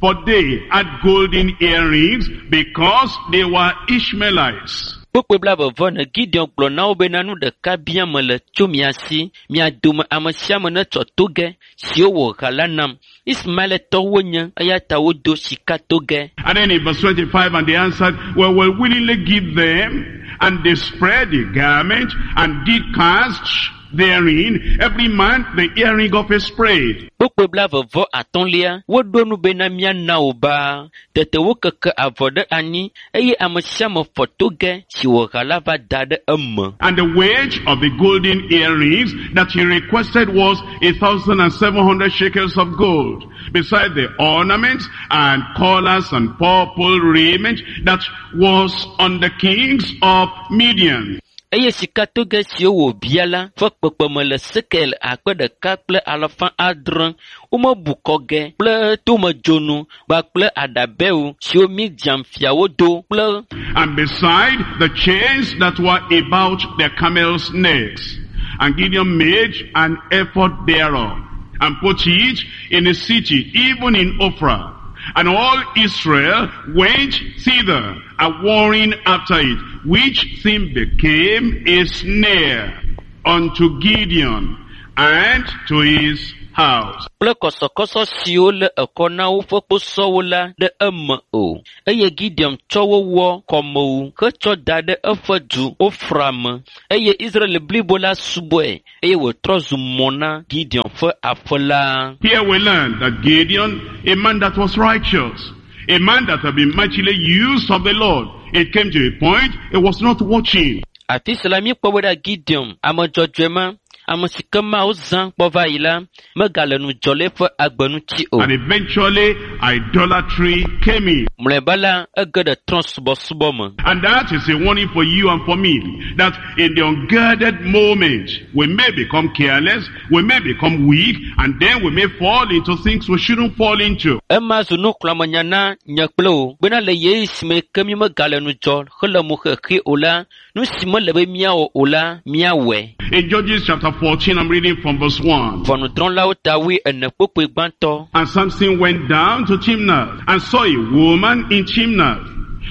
For they had golden earrings because they were Ishmaelites. Kpukpui blaeve-vɔ-ene Gideon gblɔ na wo bena nu ɖeka biam mele tso mia si, mia dome ame sia ame netsɔ togɛ siwo wòha la nam. Ismaeletɔwo wonye eya ta wodo sikatogɛ. And then in verse 25, and they answered, Well, we'll willingly give them. And they spread the garment and did cast therein every man the earring of his prey. Kpukpui blaeve-vɔ-atɔ̃lia woɖo nu bena míana wo baa. Tete wokeke avɔ ɖe anyi eye ame sia ame fɔ togɛ si wòha la va da ɖe eme. And the wage of the golden earrings that he requested was 1,700 shekels of gold, beside the ornaments and collars and purple raiment that was on the kings of Midian. Eye sikatogɛ siwo wòbia la ƒe kpekpeme le sekel 1600. Womebu kɔgɛ kple tomedzonu kpakple aɖabɛwo siwo Midian fiawo do kple And beside the chains that were about their camels' necks. And Gideon made an ephod thereof, and put it in the city, even in Ophrah. And all Israel went thither, a warring after it, which thing became a snare unto Gideon and to his house. Kple kɔsɔkɔsɔ siwo le ekɔ na woƒe kposɔwo la ɖe eme o. Eye Gideon tsɔ wo wɔ kɔmewu hetsɔ da ɖe eƒe du Ofra me. Eye Israel blibo la subɔe eye wòtrɔ zu mɔ na Gideon ƒe aƒe la. Here we learn that Gideon, a man that was righteous, a man that had been mightily used of the Lord, it came to a point he was not watching. Afi sia la míekpɔ be ɖa Gideon, ame dzɔdzɔe ma, ame si ke Mawu zã kpɔ va yi la, megale ŋudzɔ le eƒe agbe ŋuti o. And eventually, idolatry came in. Mlɔeba la, ege ɖe trɔ̃subɔsubɔ me. And that is a warning for you and for me, that in the unguarded moment, we may become careless, we may become weak, and then we may fall into things we shouldn't fall into. Ema zu nuxlɔ̃amenya na nye kple wò bena le ɣeyiɣi si me ke mímegale ŋudzɔ hele mo xexi o la, nu si mele be míawɔ o la, míawɔe. In Judges chapter 14, I'm reading from verse 1. Ʋɔnudrɔ̃lawo ta wuiene kpukpui gbãtɔ. And Samson went down to Timnath and saw a woman in Timnath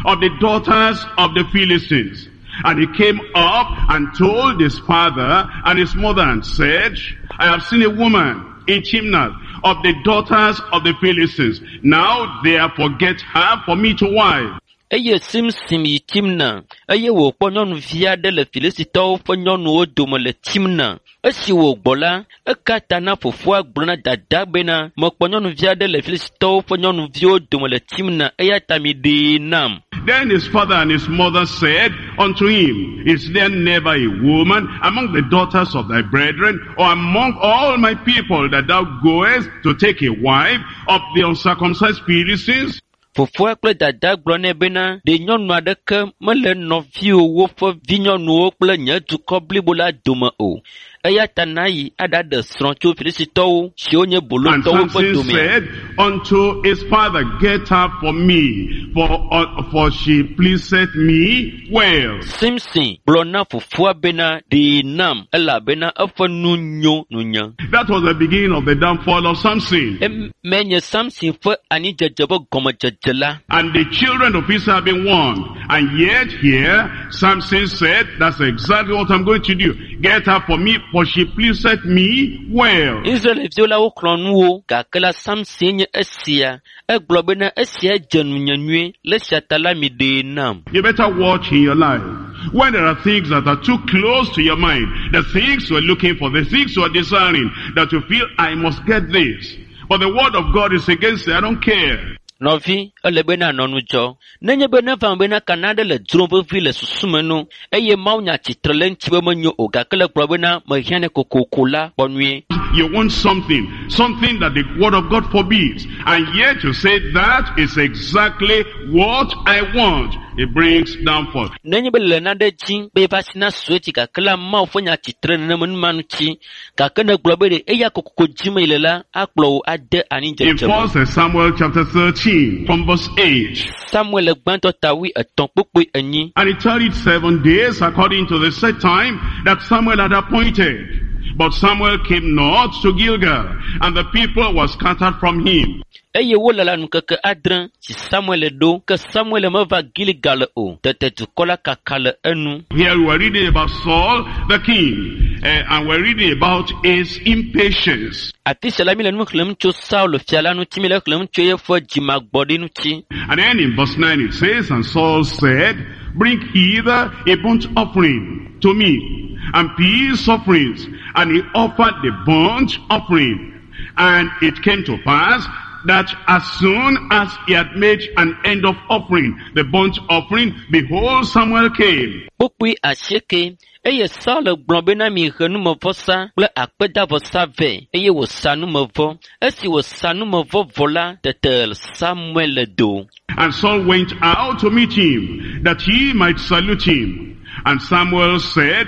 of the daughters of the Philistines. And he came up and told his father and his mother and said, I have seen a woman in Timnath of the daughters of the Philistines. Now therefore get her for me to wife. Eye Simson yi Timna eye wòkpɔ nyɔnuvi aɖe le Filistitɔwo ƒe nyɔnuwo dome le Timna. Esi wògbɔ la, eka ta na fofoa gblɔ na dadaa bena, mekpɔ nyɔnuvi aɖe le Filistitɔwo ƒe nyɔnuviwo dome le Timna eya ta miɖee nam. Then his father and his mother said unto him, Is there never a woman among the daughters of thy brethren, or among all my people, that thou goest to take a wife of the uncircumcised Philistines? Fofoa kple dadaa gblɔ nɛ bena, ɖe nyɔnu aɖeke mele nɔviwòwo ƒe vinyɔnuwo kple nye dukɔ blibo la dome o. Eya ta nayi aɖaɖe srɔ̃ tso Filistitɔwo siwo nye And bolotɔwo ƒe Samson domea. said unto his father, Get her for me, for she pleaseth me well. Simson gblɔ na fofoa bena, ɖee nam elabena eƒe nu nyo nunye. That was the beginning of the downfall of Samson. Emae nye Samson ƒe anidzedze ƒe gɔmedzedze la. And the children of Israel have been warned. And yet here, Samson said, that's exactly what I'm going to do. Get her for me, for she pleaseth me well. Israelviwo la woxlɔ̃ nu wo gake la Samson nye esia. Egblɔ bena esia dze nunye nyuie le esia ta la mi ɖee nam. You better watch in your life. When there are things that are too close to your mind, the things you are looking for, the things you are desiring, that you feel, I must get this. But the word of God is against it. I don't care. Nɔvi, ele be nanɔ ŋudzɔ. Nenye be neva me bena kana aɖe le dzrom vevi le susu me nu eye Mawunya tsitre le eŋuti be menyo o gake le gblɔ bena mehiã nɛ kokoko la, kpɔ nyuie. You want something, something that the word of God forbids. And yet you say that is exactly what I want. It brings downfall. Nenye be le nane dzi be va si na su edzi gake la Mawu ƒe nya tsitre nenema nu ma ŋuti gake ne gblɔ be ɖe eya kokoko dzim yi le la akplɔ wò ade In anidzedze me. 1 Samuel chapter 13, from verse 8. Samuel gbãtɔ ta wuietɔ̃ kpukpui enyi. And it tarried 7 days according to the set time that Samuel had appointed. But Samuel came not to Gilgal, and the people were scattered from him. Eye wolala ŋkeke adre si Samuel ɖo, ke Samuel meva Gilgal o. Tete dukɔ la kaka le enu. Here we are reading about Saul the king, and we're reading about his impatience. Afi sia la mi le nu xlẽm tso Saul fia la ŋuti, mi le xlẽm tso eƒe dzimagbɔɖi ŋuti. And then in verse 9 it says, And Saul said, Bring hither a burnt offering to me, and peace offerings. And he offered the burnt offering. And it came to pass that as soon as he had made an end of offering, the burnt offering, behold, Samuel came. Kpukpui asieke eye Saul gblɔ bena mihe numevɔsa kple akpedavɔsa vɛ eye wòsa numevɔ. Esi wòsa numevɔ vɔ la, tete Samuel do. And Saul went out to meet him, that he might salute him. And Samuel said,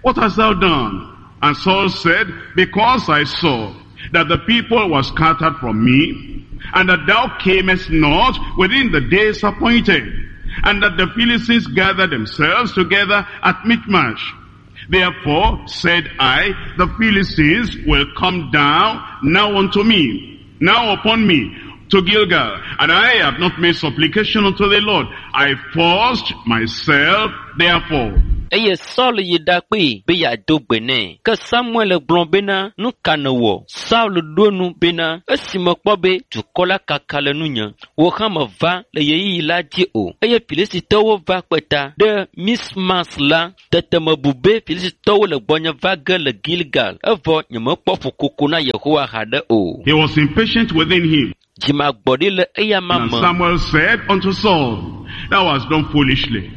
What hast thou done? And Saul said, Because I saw that the people were scattered from me, and that thou camest not within the days appointed, and that the Philistines gathered themselves together at Michmash. Therefore said I, the Philistines will come down now unto me, now upon me, to Gilgal, and I have not made supplication unto the Lord. I forced myself therefore. Eye Saul yi ɖakpee be yeado gbe nɛ. Ke Samuel gblɔ bena, nu ka nèwɔ? Saul ɖo nu bena, esi mekpɔ be dukɔ la kaka le nunye, wò hã meva le ɣeyiɣi la dzi o. Eye Filistitɔwo va kpe ta ɖe Mismas la. Tete mebu be Filistitɔwo le gbɔnye va ge le Gilgal, evɔ nyemekpɔ ƒukoko na Yehowa haɖe o. He was impatient within him. Dzimagbɔɖi le eyama And me. Samuel said unto Saul, Thou hast done foolishly.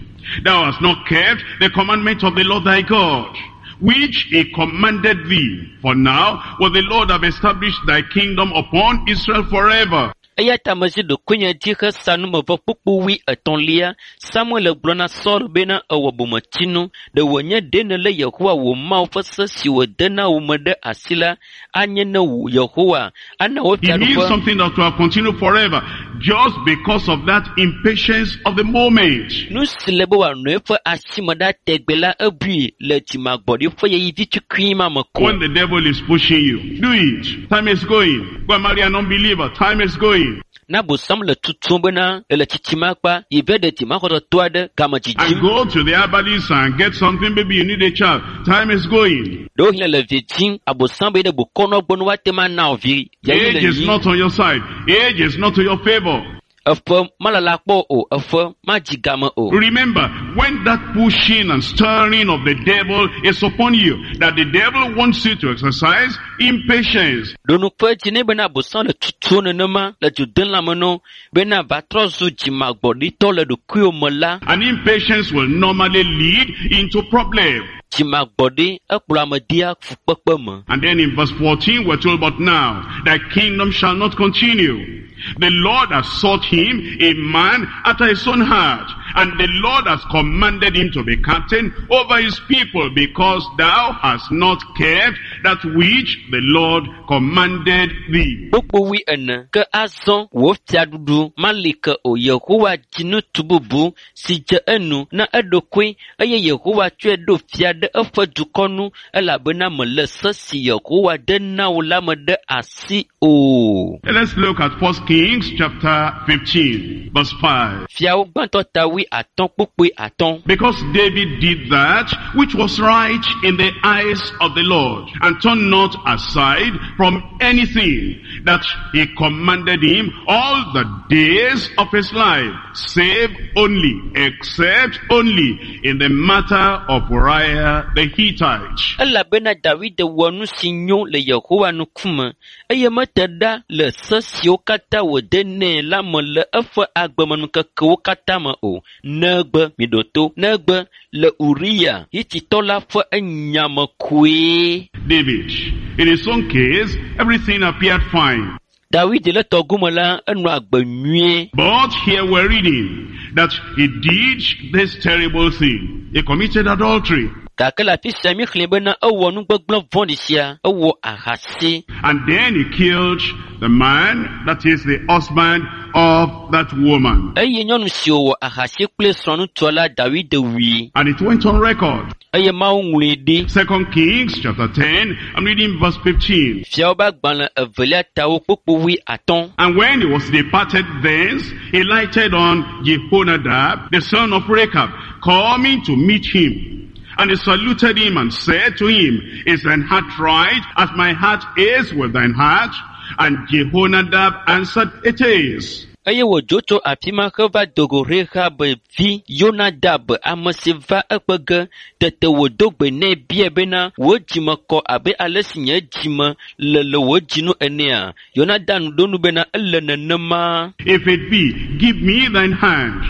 Thou hast not kept the commandment of the Lord thy God, which he commanded thee. For now will the Lord have established thy kingdom upon Israel forever. Eya ta mezi ɖokuinye dzi hesa numevɔ kpukpu wui etɔ̃lia. Samuel gblɔ na Saul bena ewɔ bometsinu. Ɖe wònye ɖe nèlé Yehowa wò Mawu ƒe se si wòde na wò me ɖe asi la, anye ne wò Yehowa ana wò He needs fiaɖuƒe. something that will continue forever, just because of that impatience of the moment. Nu si le be wòanɔ eƒe asi me ɖa tegbe la ebui le dzimagbɔɖi ƒe ɣeyiɣi vi tukui ma me ko. When the devil is pushing you, do it. Time is going. Go and marry an unbeliever. Time is going. Na bosam le tutum bena ele tsitsim akpa, yi va ɖe dzimaxɔsetɔ aɖe game And dzidzim. go to the herbalist and get something. Maybe you need a child. Time is going. Ɖewohĩ le vi dzim, abosam be ɖe bokɔnɔ gbɔ ne woate ŋu ana wò vi ɣeyiɣi Age le is yiyim. not on your side. Age is not to your favor. Eƒe malala kpɔ o, eƒe madzi game o. Remember, when that pushing and stirring of the devil is upon you, that the devil wants you to exercise impatience. Ɖonuƒe dzi nɛ bena abosam le tutum nenema le du dem lãme nɔ bena va trɔ zu dzimagbɔɖitɔ le ɖokuiwò me la, And impatience will normally lead into problem. dzimagbɔɖi ekplɔ ame dea fukpekpe me. And then in verse 14 we're told, but now thy kingdom shall not continue. The Lord has sought him a man after his own heart, and the Lord has commanded him to be captain over his people, because thou hast not kept that which the Lord commanded thee. Kpukpu wui ene ke azɔ wò fiaɖuɖu mali ke o. Yehowa dzi ŋutsu bubu si dze enu na eɖokui eye Yehowa tsɔe ɖo fia ɖe eƒe dukɔ nu elabena mele se si Yehowa de na wò la me ɖe asi o. Let's look at 1 Kings chapter 15, verse 5. Fiawo gbãtɔ ta wui atɔ̃ kpukpui atɔ̃. Because David did that which was right in the eyes of the Lord, and turned not aside from anything that he commanded him all the days of his life, save only, except only in the matter of Uriah the Hittite. Elabena David wɔ nu si nyo le Yehowa ŋkume eye mete ɖa le se siwo katã wòde nɛ la me le eƒe agbemenukekewo katã me o. Negbe miɖo to, negbe le Uriya Hititɔ la ƒe enya me koe. David, in his own case, everything appeared fine. David le tɔgome la, enɔ agbe nyuie. But here we're reading that he did this terrible thing. He committed adultery. Gake le afi sia míexlẽ bena ewɔ nu gbegblẽ vɔ̃ɖi sia, ewɔ ahasi. And then he killed the man, that is the husband of that woman. Eye nyɔnu si wòwɔ ahasi kple srɔ̃ŋutsua la, David wui And it went on record. eye Mawu ŋlɔe ɖi. Second Kings chapter 10, I'm reading verse 15. Fiawo ƒe agbalẽ evelia tawo kpukpu wui atɔ̃. And when he was departed thence, he lighted on Jehonadab, the son of Rechab, coming to meet him. And he saluted him and said to him, Is thine heart right as my heart is with thine heart? And Jehonadab answered, It is. Eye wòdzo tso afi ma heva do go Rehab vi Yonadab, ame si va eƒe ge. Tete wòdo gbe nɛ biae bena, wò dzime kɔ abe ale si nye dzime le le wò dzinu enea? Yonadab ɖo nu bena, ele nenema. If it be, give me thine hand.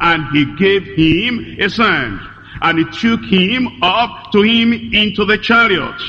And he gave him his hand. And he took him up to him into the chariot.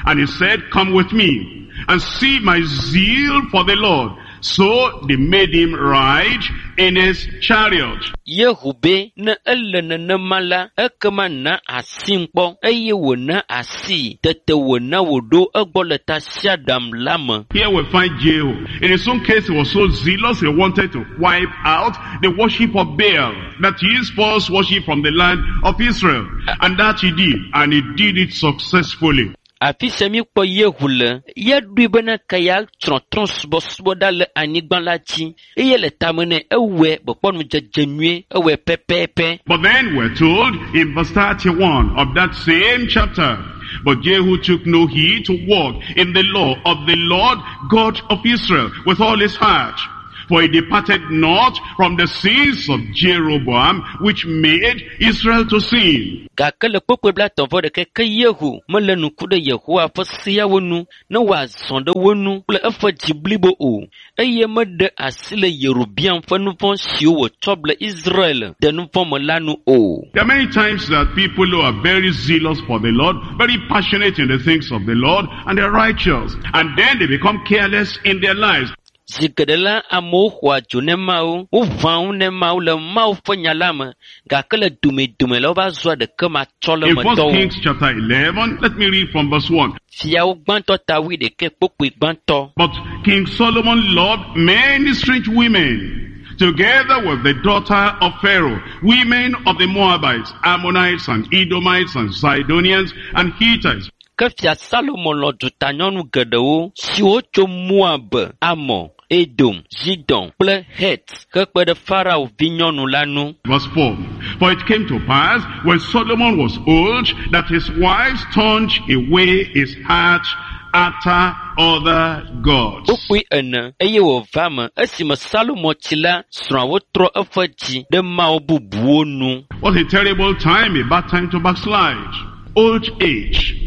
And he said, Come with me and see my zeal for the Lord. So they made him ride in his chariot. Yehu be ne ele nenema la, ekema na asim kpɔ eye wòna asii. Tete wòna wòɖo egbɔ le tasiaɖam la me. Here we find Jehu. In his own case, he was so zealous he wanted to wipe out the worship of Baal, that is false worship from the land of Israel. And that he did, and he did it successfully. Afi sia míkpɔ Yehu le, ye ɖoe bena ke yeatsrɔ̃ trɔ̃subɔsubɔ ɖa le anyigba la dzi eye le tame nɛ ewɔe gbekpɔ nudzedze nyuie, ewɔe pɛpɛpɛ. But then we're told in verse 31 of that same chapter, But Jehu took no heed to walk in the law of the Lord God of Israel with all his heart. For he departed not from the sins of Jeroboam, which made Israel to sin. Gake le kpukpui 31 ke Yehu mele ŋku ɖe Yehowa ƒe seawo nu ne wòazɔ ɖe wo nu kple eƒe dzi blibo o eye meɖe asi le Yerobeam ƒe nu vɔ̃ siwo wòtsɔ ble Israel de nu vɔ̃ me la nu o. There are many times that people who are very zealous for the Lord, very passionate in the things of the Lord, and they're righteous. And then they become careless in their lives. Zi geɖe la, amewo xɔa dzo ne Mawu, woʋãa ŋu ne Mawu le Mawu ƒe nya la me gake le domedome la wova zua ɖeke matsɔ le In 1 metɔwo. Kings chapter 11, let me read from verse 1. Fiawo gbãtɔ ta wuiɖekɛ kpukpui gbãtɔ. But King Solomon loved many strange women, together with the daughter of Pharaoh, women of the Moabites, Ammonites, and Edomites, and Zidonians, and Hittites. Ke fia Salomo lɔ̃ dutanyɔnu geɖewo siwo tso Moab, Amon, Edom, Zidon kple Het hekpe ɖe Farao vinyɔnu la nu. Verse 4. For it came to pass, when Solomon was old, that his wives turned away his heart after other gods. Kpukpui ene eye wòva me esime Salomo tsi la, srɔ̃awo trɔ eƒe dzi ɖe mawu bubuwo nu. What a terrible time, a bad time to backslide. Old age.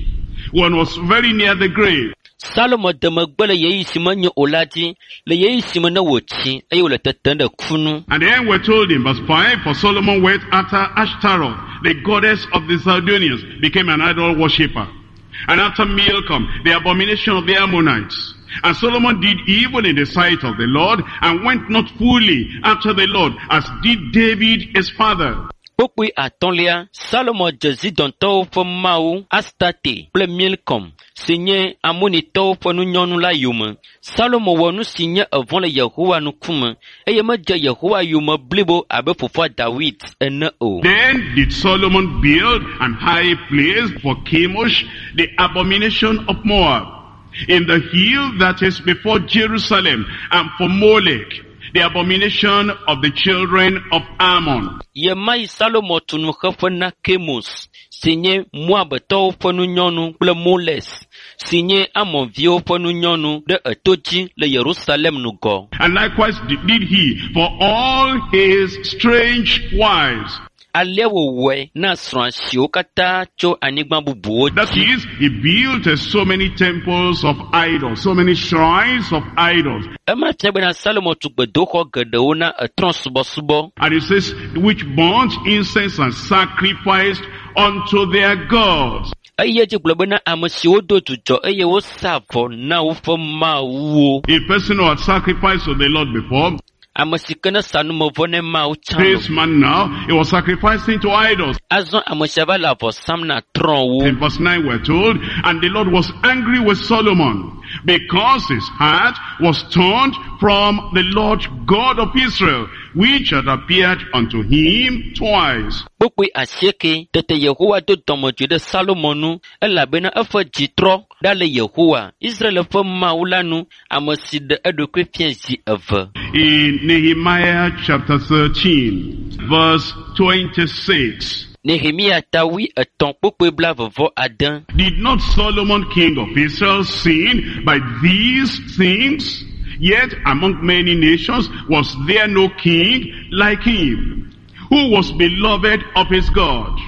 One was very near the grave. Salomo de megbe le ɣeyiɣi si menyo o la dzi, le ɣeyiɣi si me ne wòtsi eye wòle tetem ɖe ku nu. And then we're told in verse 5, For Solomon went after Ashtaroth, the goddess of the Zidonians, became an idol worshipper. And after Milcom, the abomination of the Ammonites. And Solomon did evil in the sight of the Lord, and went not fully after the Lord, as did David his father. Kpukpui atɔ̃lia, Salomo dze Zidontɔwo ƒe mawu Astate kple Milkom si nye Amonitɔwo ƒe nunyɔnu la yome. Salomo wɔ nu si nye evɔ̃ le Yehowa ŋkume eye medze Yehowa yome blibo abe fofoa Dawid ene o. Then did Solomon build an high place for Chemosh, the abomination of Moab, in the hill that is before Jerusalem, and for Molech, the abomination of the children of Ammon. Ɣemaɣi Salomo tu nuxeƒe na Kemos si nye Moabtɔwo ƒe nunyɔnu kple Moles si nye Amonviwo ƒe nunyɔnu ɖe eto dzi le Yerusalem ŋgɔ. And likewise did he for all his strange wives. Alea wòwɔe na srɔ̃a siwo katã tso anyigba bubuwo That dzi. is, he built so many temples of idols, so many shrines of idols. Ema fia bena Salomo tu gbedoxɔ geɖewo na etrɔ̃subɔsubɔ. And it says, which burnt incense and sacrificed unto their gods. Eye edzi gblɔ bena ame siwo do dzudzɔ eye wosa vɔ na woƒe mawuwo. A person who had sacrificed to the Lord before, Ame si ke ne sa numevɔ ne Mawu tsã this lo. man now, he was sacrificing to idols. Azɔ ame sia va le avɔ sam na trɔ̃wo. In verse 9 we're told, and the Lord was angry with Solomon because his heart was turned from the Lord God of Israel, which had appeared unto him twice. Kpukpui asieke tete Yehowa do dɔmedzoe ɖe Salomo nu elabena eƒe dzi trɔ ɖa le Yehowa, Israel ƒe Mawu la nu, ame si ɖe eɖokui fia zi eve. In Nehemiah chapter 13, verse 26, Nehemia ta wuietɔ̃ kpukpui blaeve-vɔ-ade. Did not Solomon king of Israel sin by these things? Yet among many nations was there no king like him, who was beloved of his God.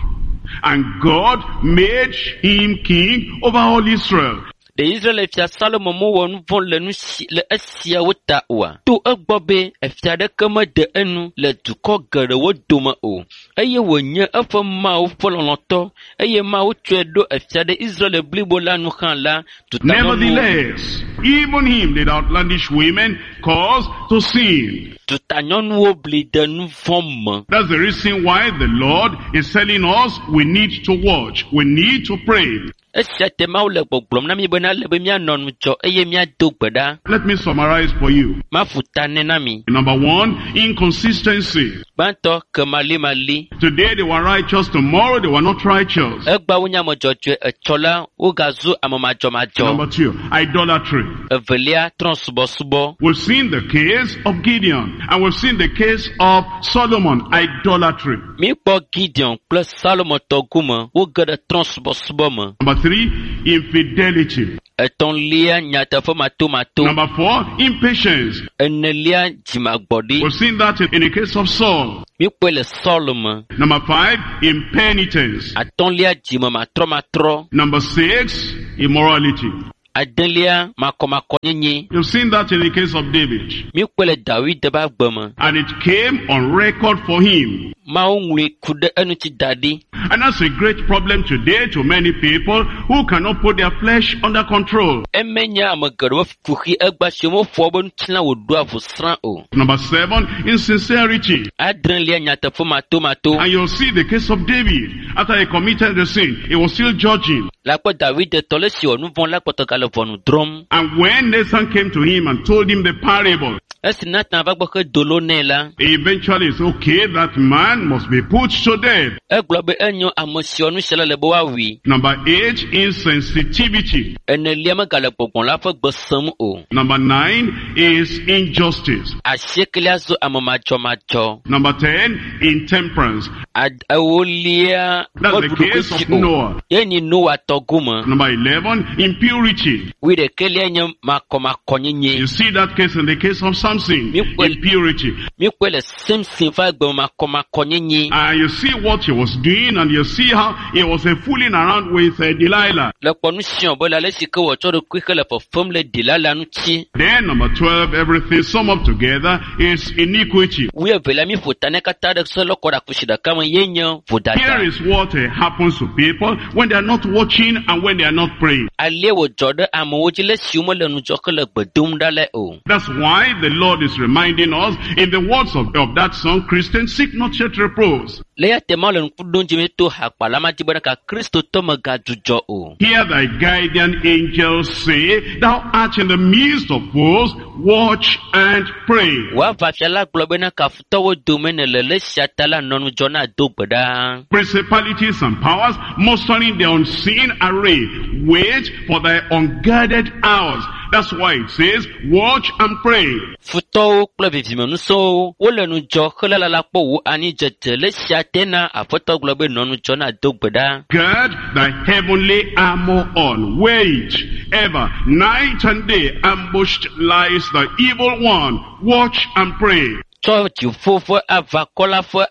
And God made him king over all Israel. Ɖe Israel fia Salomo mewɔ nu vɔ̃ le nu si le esiawo ta oa? To egbɔ be efia aɖeke mede enu le dukɔ geɖewo dome o eye wònye eƒe Mawu ƒe lɔlɔ̃tɔ eye Mawu tsɔe ɖo efia ɖe Israel blibo la nu hã la, dutanyɔnuwo Nevertheless, even him did outlandish women cause to sin. dutanyɔnuwo bli de nu vɔ̃ me. That's the reason why the Lord is telling us we need to watch, we need to pray. Esia te Mawu le gbɔgblɔm na mi bena ele be míanɔ ŋudzɔ eye míado gbe ɖa. Let me summarize for you. Maƒu ta nɛ na mi. Number one, inconsistency. Gbãtɔ, kemalimali. Today they were righteous, tomorrow they were not righteous. Egba wonye ame dzɔdzɔe, etsɔ la wogazu ame madzɔmadzɔ. Number two, idolatry. Evelia, trɔ̃subɔsubɔ. We've seen the case of Gideon and we've seen the case of Solomon, idolatry. Míkpɔ Gideon kple Salomo tɔ gome woge ɖe trɔ̃subɔsubɔ me. Number three, infidelity. Etɔ̃lia, nyateƒe matomato. Number four, impatience. Enelia, dzimagbɔɖi. We've seen that in the case of Saul. Míkpɔe le Saul me. Number five, impenitence. Atɔ̃lia, dzime matrɔmatrɔ. Number six, immorality. Adelia, makɔmakɔnyenye. You've seen that in the case of David. Míkpɔe le Dawid ƒe agbe me. And it came on record for him. Mawu ŋlɔe ku ɖe eŋuti da ɖi. And that's a great problem today to many people who cannot put their flesh under control. Eme nye ame geɖewo kuxi egba si womeƒoa woƒe ŋutilã wòɖoa ʋusrã o. Number seven, insincerity. Adrelia, nyateƒe matomato. And you'll see the case of David. After he committed the sin, he was still judging. Le akpɔ Dawid tɔ le si wɔ nu vɔ̃ la kpɔtɔ gale ʋɔnu drɔ̃m. And when Nathan came to him and told him the parable, Esi Natan va gbɔ hedo lo nɛ la, he eventually said, okay, that man must be put to death. egblɔ be enyo ame si wɔ nu sia la le be woawui. Number eight, insensitivity. Enelia megale gbɔgbɔ la ƒe gbe sem o. Number nine is injustice. Asiekelia zu ame madzɔmadzɔ. Number 10, intemperance. Ad ewolia That's the meɖu case ɖokuisi of o. Noah. Ye nyi Noa tɔ gome. Number 11, impurity. Wuiɖekɛlia nye makɔmakɔnyenye. You see that case in the case of Samson. Impurity. Míkpɔe le Samson ƒe agbe me makɔmakɔnyenye. And you see what he was doing and you see how he was fooling around with Delilah. Le kpɔ nu si wòbe le ale si ke wòtsɔ ɖokui hele fefem le Delila ŋuti. Then number 12, everything sum up together is iniquity. Wuievelia míƒo ta nɛ katã ɖe se lɔkɔ ɖe akusi ɖeka me ye nye vodada. Here is what happens to people when they are not watching and when they are not praying. Alie wòdzɔ ɖe amewo dzi le esi womele ŋudzɔ hele gbe dom ɖa le o. That's why the Lord is reminding us in the words of that song, Christian, seek not yet repose. Le eya ta Mawu le ŋku ɖom dzi to hakpala ma dzi bena ka Kristotɔ megadzudzɔ o. Hear thy guardian angel say, Thou art in the midst of foes, watch and pray. Wò aʋafia la gblɔ bena kafutɔwo dome nèle le esia ta la nɔ ŋudzɔ na do gbe ɖa. Principalities and powers mustering their unseen array, wait for thy unguarded hours. That's why it says, watch and pray. Futɔwo kple vivimenusɔwo wole ŋudzɔ helalala kpɔ wò anidzedze le esia te na Aƒetɔ gblɔ be nɔ ŋudzɔ na do gbe ɖa. Gird thy heavenly armor on. Wait ever, night and day, ambushed lies the evil one. Watch and pray. Tsɔ dziƒo ƒe aʋakɔ la ƒe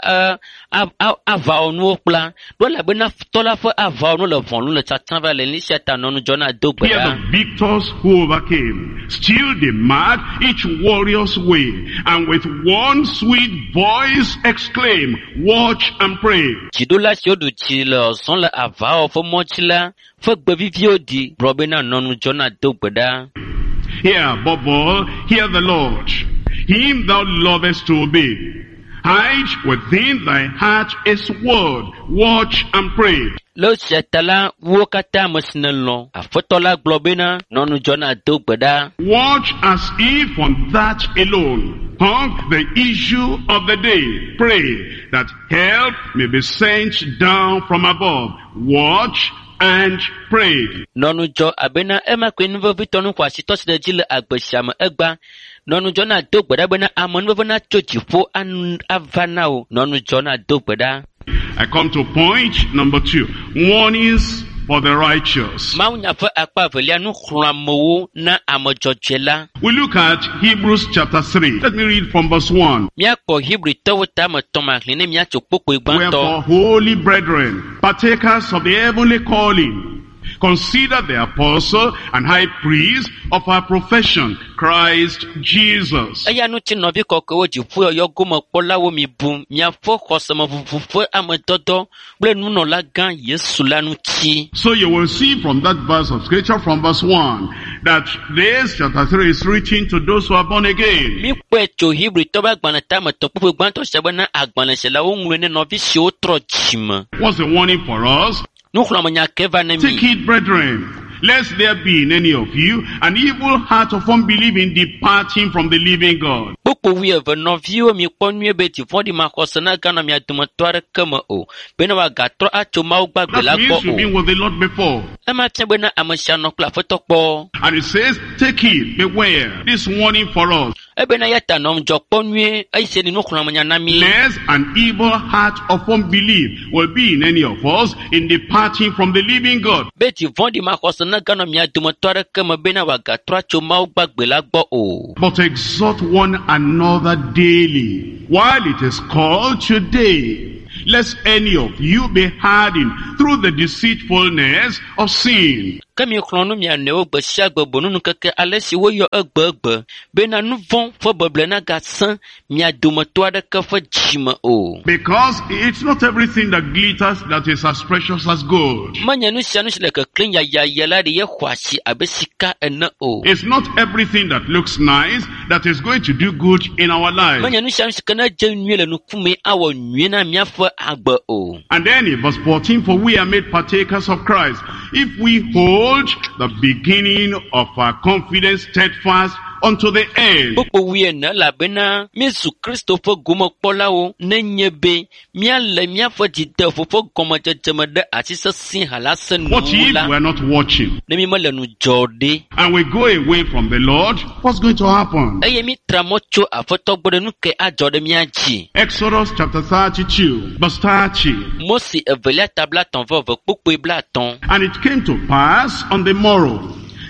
aʋawɔnuwo kpla ɖo elabena futɔ la ƒe aʋawɔnu le ʋɔnu le tsatsam va le esia ta nɔ ŋudzɔ na do gbe Hear ɖa. the victors who overcame. Still they mark each warrior's way, and with one sweet voice exclaim, watch and pray. Dziɖula siwo ɖu dzi le zɔzɔm le aʋawɔwɔ ƒe mɔ dzi la ƒe gbe viviwo ɖi gblɔ bena nɔ ŋudzɔ na do gbe ɖa. Hear, above all, hear the Lord. Him thou lovest to obey. Hide within thy heart his word. Watch and pray. Le esia ta la, wo katã ame si nèlɔ̃, Aƒetɔ la gblɔ bena nɔ ŋudzɔ na do gbe ɖa. Watch as if on that alone hung the issue of the day. Pray that help may be sent down from above. Watch and pray. Nɔ ŋudzɔ abena ema koe nu vevitɔ nu xɔasitɔ si ɖe dzi le agbe sia me egba. Nɔ ŋudzɔ na do gbe ɖa bena amenuveve natso dziƒo ava na wò. Nɔ ŋudzɔ na do gbe ɖa. I come to point number 2. Warnings for the righteous. Mawunya ƒe akpa evelia nu xlɔ̃amewo na ame dzɔdzɔe la. We look at Hebrews chapter 3. Let me read from verse 1. Míakpɔ Hebritɔwo tame tɔ̃ maxlẽ ne míatso kpokpoe gbãtɔ. Wherefore, holy brethren, partakers of the heavenly calling, Consider the apostle and high priest of our profession, Christ Jesus. Eya ŋuti nɔvi kɔkɔewo dziƒoyɔyɔ gomekpɔlawo mi bu miaƒe xɔsemeʋuʋu ƒe amedɔdɔ kple nunɔlagã Yesu la ŋuti. So you will see from that verse of scripture, from verse 1, that this chapter 3 is written to those who are born again. Míkpɔe tso Hebritɔ ƒe agbalẽ tametɔ kpukpui gbãtɔ sia bena agbalẽ sia la woŋlɔe ne nɔvi siwo trɔ dzime. What's the warning for us? Nuxlɔ̃amenya ke va ne Take mi. heed, brethren, lest there be in any of you an evil heart of unbelief in departing from the living God. Kpukpui wuieve nɔviwo mikpɔ nyuie be dziƒoɖi maxɔse naganɔ mia dometɔ aɖeke me o bena wòagatrɔ atso Mawu gbagbe la That gbɔ means you've o. been with the Lord before. Ema fia bena ame sia nɔ kple Aƒetɔ kpɔ. And it says, take heed, beware. This warning for us. Ebena ya ta nɔ ŋudzɔ kpɔ nyuie eye ni nuxlɔ̃amenya na mi. Lest an evil heart of unbelief will be in any of us in departing from the living God. Be dziƒoɖi maxɔse naganɔ mia dometɔ aɖeke me bena wòagatrɔ atso Mawu gbagbe la gbɔ o. But exhort one another daily, while it is called today, lest any of you be hardened through the deceitfulness of sin. Ke mi xlɔ̃ nu mia nɔewo gbe sia gbe bonunu keke ale si woyɔ egbegbe bena nu vɔ̃ ƒe beble nagasẽ mia dometɔ aɖeke ƒe dzime o. Because it's not everything that glitters that is as precious as gold. Menye nu sia nu si le keklẽm yayaya la ɖe ye xɔ asi abe sika ene o. It's not everything that looks nice that is going to do good in our lives. Menye nu sia nu si ke ne dze nyuie le nukume awɔ nyuie na míaƒe agbe o. And then in verse 14, for we are made partakers of Christ, if we hold the beginning of our confidence steadfast unto the end. Kpukpui wuiene elabena míezu Kristo ƒe gomekpɔlawo nenye be míale míaƒe dzideƒo ƒe gɔmedzedze me ɖe asi sesĩe halase What nuwu if la we are not watching ne mímele nu dzɔ ɖe. and we go away from the Lord? What's going to happen? Eye mítra mɔ tso Aƒetɔ gbɔ ɖe nu ke adzɔ ɖe mía dzi. Exodus chapter 32, verse 30. Mose evelia ta blatɔ̃ vɔ eve kpukpui blatɔ̃. And it came to pass on the morrow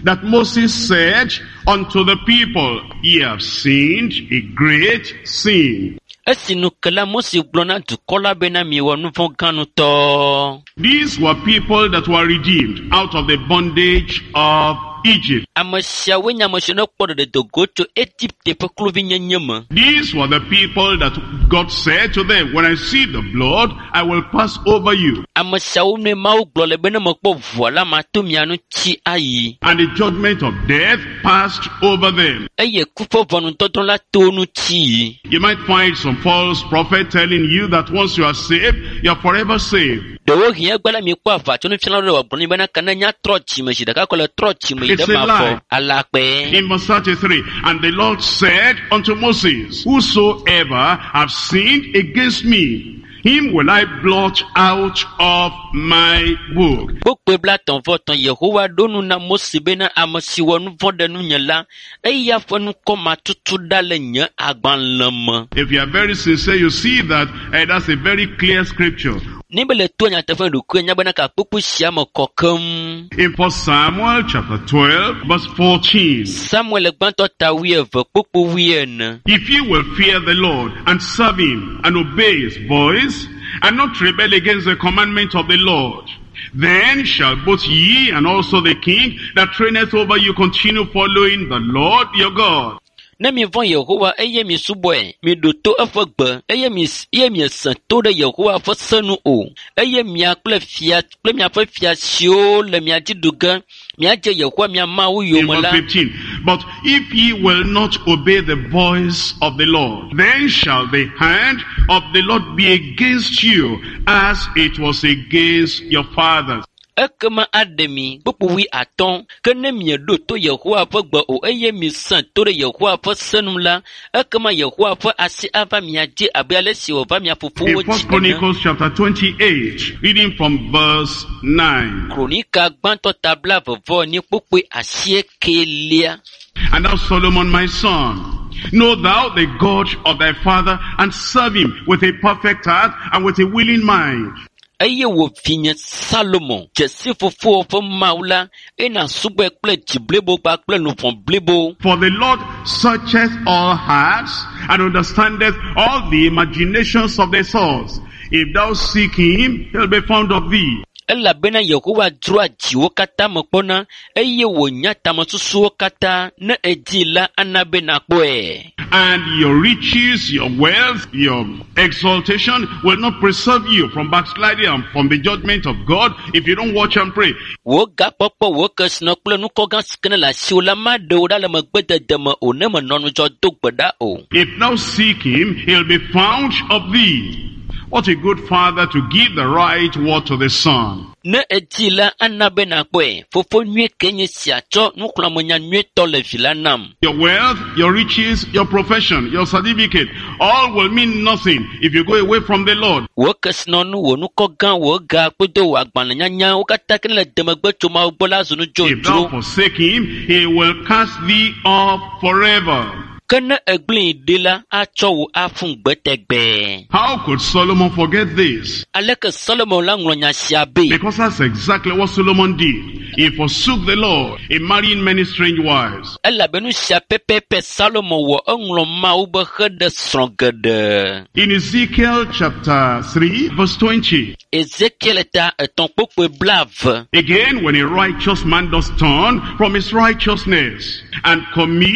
that Moses said unto the people, Ye have sinned a great sin. Esi nu ke la Mose gblɔ na dukɔ la bena miewɔ nu vɔ̃ gã ŋutɔ. These were people that were redeemed out of the bondage of Egypt. Ame siawoe nye ame siwo ne kpɔ ɖeɖe do go tso Egipte ƒe kluvinyenye me. These were the people that God said to them, When I see the blood, I will pass over you. Ame siawo nue Mawu gblɔ le be ne mekpɔ ʋua la mato mia ŋuti ayi. And the judgment of death passed over them. Eye ku ƒe ʋɔnudɔdrɔ̃ la to wo ŋuti yi. You might find some false prophet telling you that once you are saved, you are forever saved. Ɖewohĩ egbe la miekpɔ aʋatsonufialawo ɖe wòagblɔ nɛ bena ke ne nya trɔ dzime zi ɖeka ko le trɔ dzime yi It's ɖe a mavɔ lie. alakpɛ. In verse 33, and the Lord said unto Moses, Whosoever have sinned against me, him will I blot out of my book. Kpukpui blatɔ̃ vɔ tɔ̃ Yehowa ɖo nu na Mose bena ame si wɔ nu vɔ̃ ɖe nunye la, eya ƒe ŋkɔ matutu ɖa le nye agbalẽ me. If you are very sincere, you see that that's a very clear scripture. Ne be le to nyateƒe ɖokuiwò nya bena ka kpukpui sia me kɔ keŋ. In 1 Samuel chapter 12, verse 14. Samuel gbãtɔ ta wuieve kpukpui wuiene. If you will fear the Lord and serve him and obey his voice and not rebel against the commandment of the Lord, then shall both ye and also the king that reigneth over you continue following the Lord your God. Ne mivɔ̃ Yehowa eye misubɔe, miɖo to eƒe gbe eye mi eye miesẽ to ɖe Yehowa ƒe se nu o eye mia kple fia kple miaƒe fia siwo le mia dzi ɖu ge miadze Yehowa mia Mawu In yome verse la, 15, but if ye will not obey the voice of the Lord, then shall the hand of the Lord be against you as it was against your fathers. ekema aɖe mi kpukpui wuiatɔ̃. Ke ne mieɖo to Yehowa ƒe gbe o eye miesẽ to ɖe Yehowa ƒe se nu la, ekema Yehowa ƒe asi ava mia dzi abe ale si wòva mia fofowo In dzi First ene. Chronicles chapter 28, reading from verse 9. Kronika gbãtɔ ta blaeve vɔ enyi kpukpui asiekelia. And thou Solomon my son, know thou the God of thy father and serve him with a perfect heart and with a willing mind. Eye wò vinye Salomo, dze si fofowò ƒe Mawu la, eye nàsubɔe kple dzi blibo kpakple luʋɔ blibo. For the Lord searcheth all hearts and understandeth all the imaginations of the thoughts. If thou seek him, he'll be found of thee. Elabena Yehowa dzroa dziwo katã me kpɔna eye wònya tamesusuwo katã. Ne edii la, ana be nàkpɔe. And your riches, your wealth, your exaltation will not preserve you from backsliding and from the judgment of God if you don't watch and pray. Wò gakpɔkpɔ, wò kesinɔ kple nukɔgã si ke ne le asiwò la maɖe wò ɖa le megbedede me o ne menɔ ŋudzɔ do gbe ɖa o. If thou seek him, he'll be found of thee. What a good father to give the right word to the son. Ne edii la, ana be nàkpɔe. Fofo nyui ke nye sia tsɔ nuxlɔ̃amenya nyuietɔ le vi la nam. Your wealth, your riches, your profession, your certificate, all will mean nothing if you go away from the Lord. Wò kesinɔnu, wò nukɔgã, wò ga kple wò agbalẽnyanya wo katã ke ne le demegbe tso Mawu gbɔ la zu nu If thou dzodzro. forsake him, he will cast thee off forever. Ke ne egblẽe ɖi la, atsɔ wò aƒu gbe tegbee. How could Solomon forget this? Aleke Solomon la ŋlɔ nya sia be? Because that's exactly what Solomon did. He forsook the Lord in marrying many strange wives. Elabe nu sia pɛpɛpɛ Salomo wɔ eŋlɔ Mawu be heɖe srɔ̃ geɖe. In Ezekiel chapter 3 verse 20, Ezekiel ta etɔ̃ kpokpoe blaeve. again when a righteous man does turn from his righteousness and commit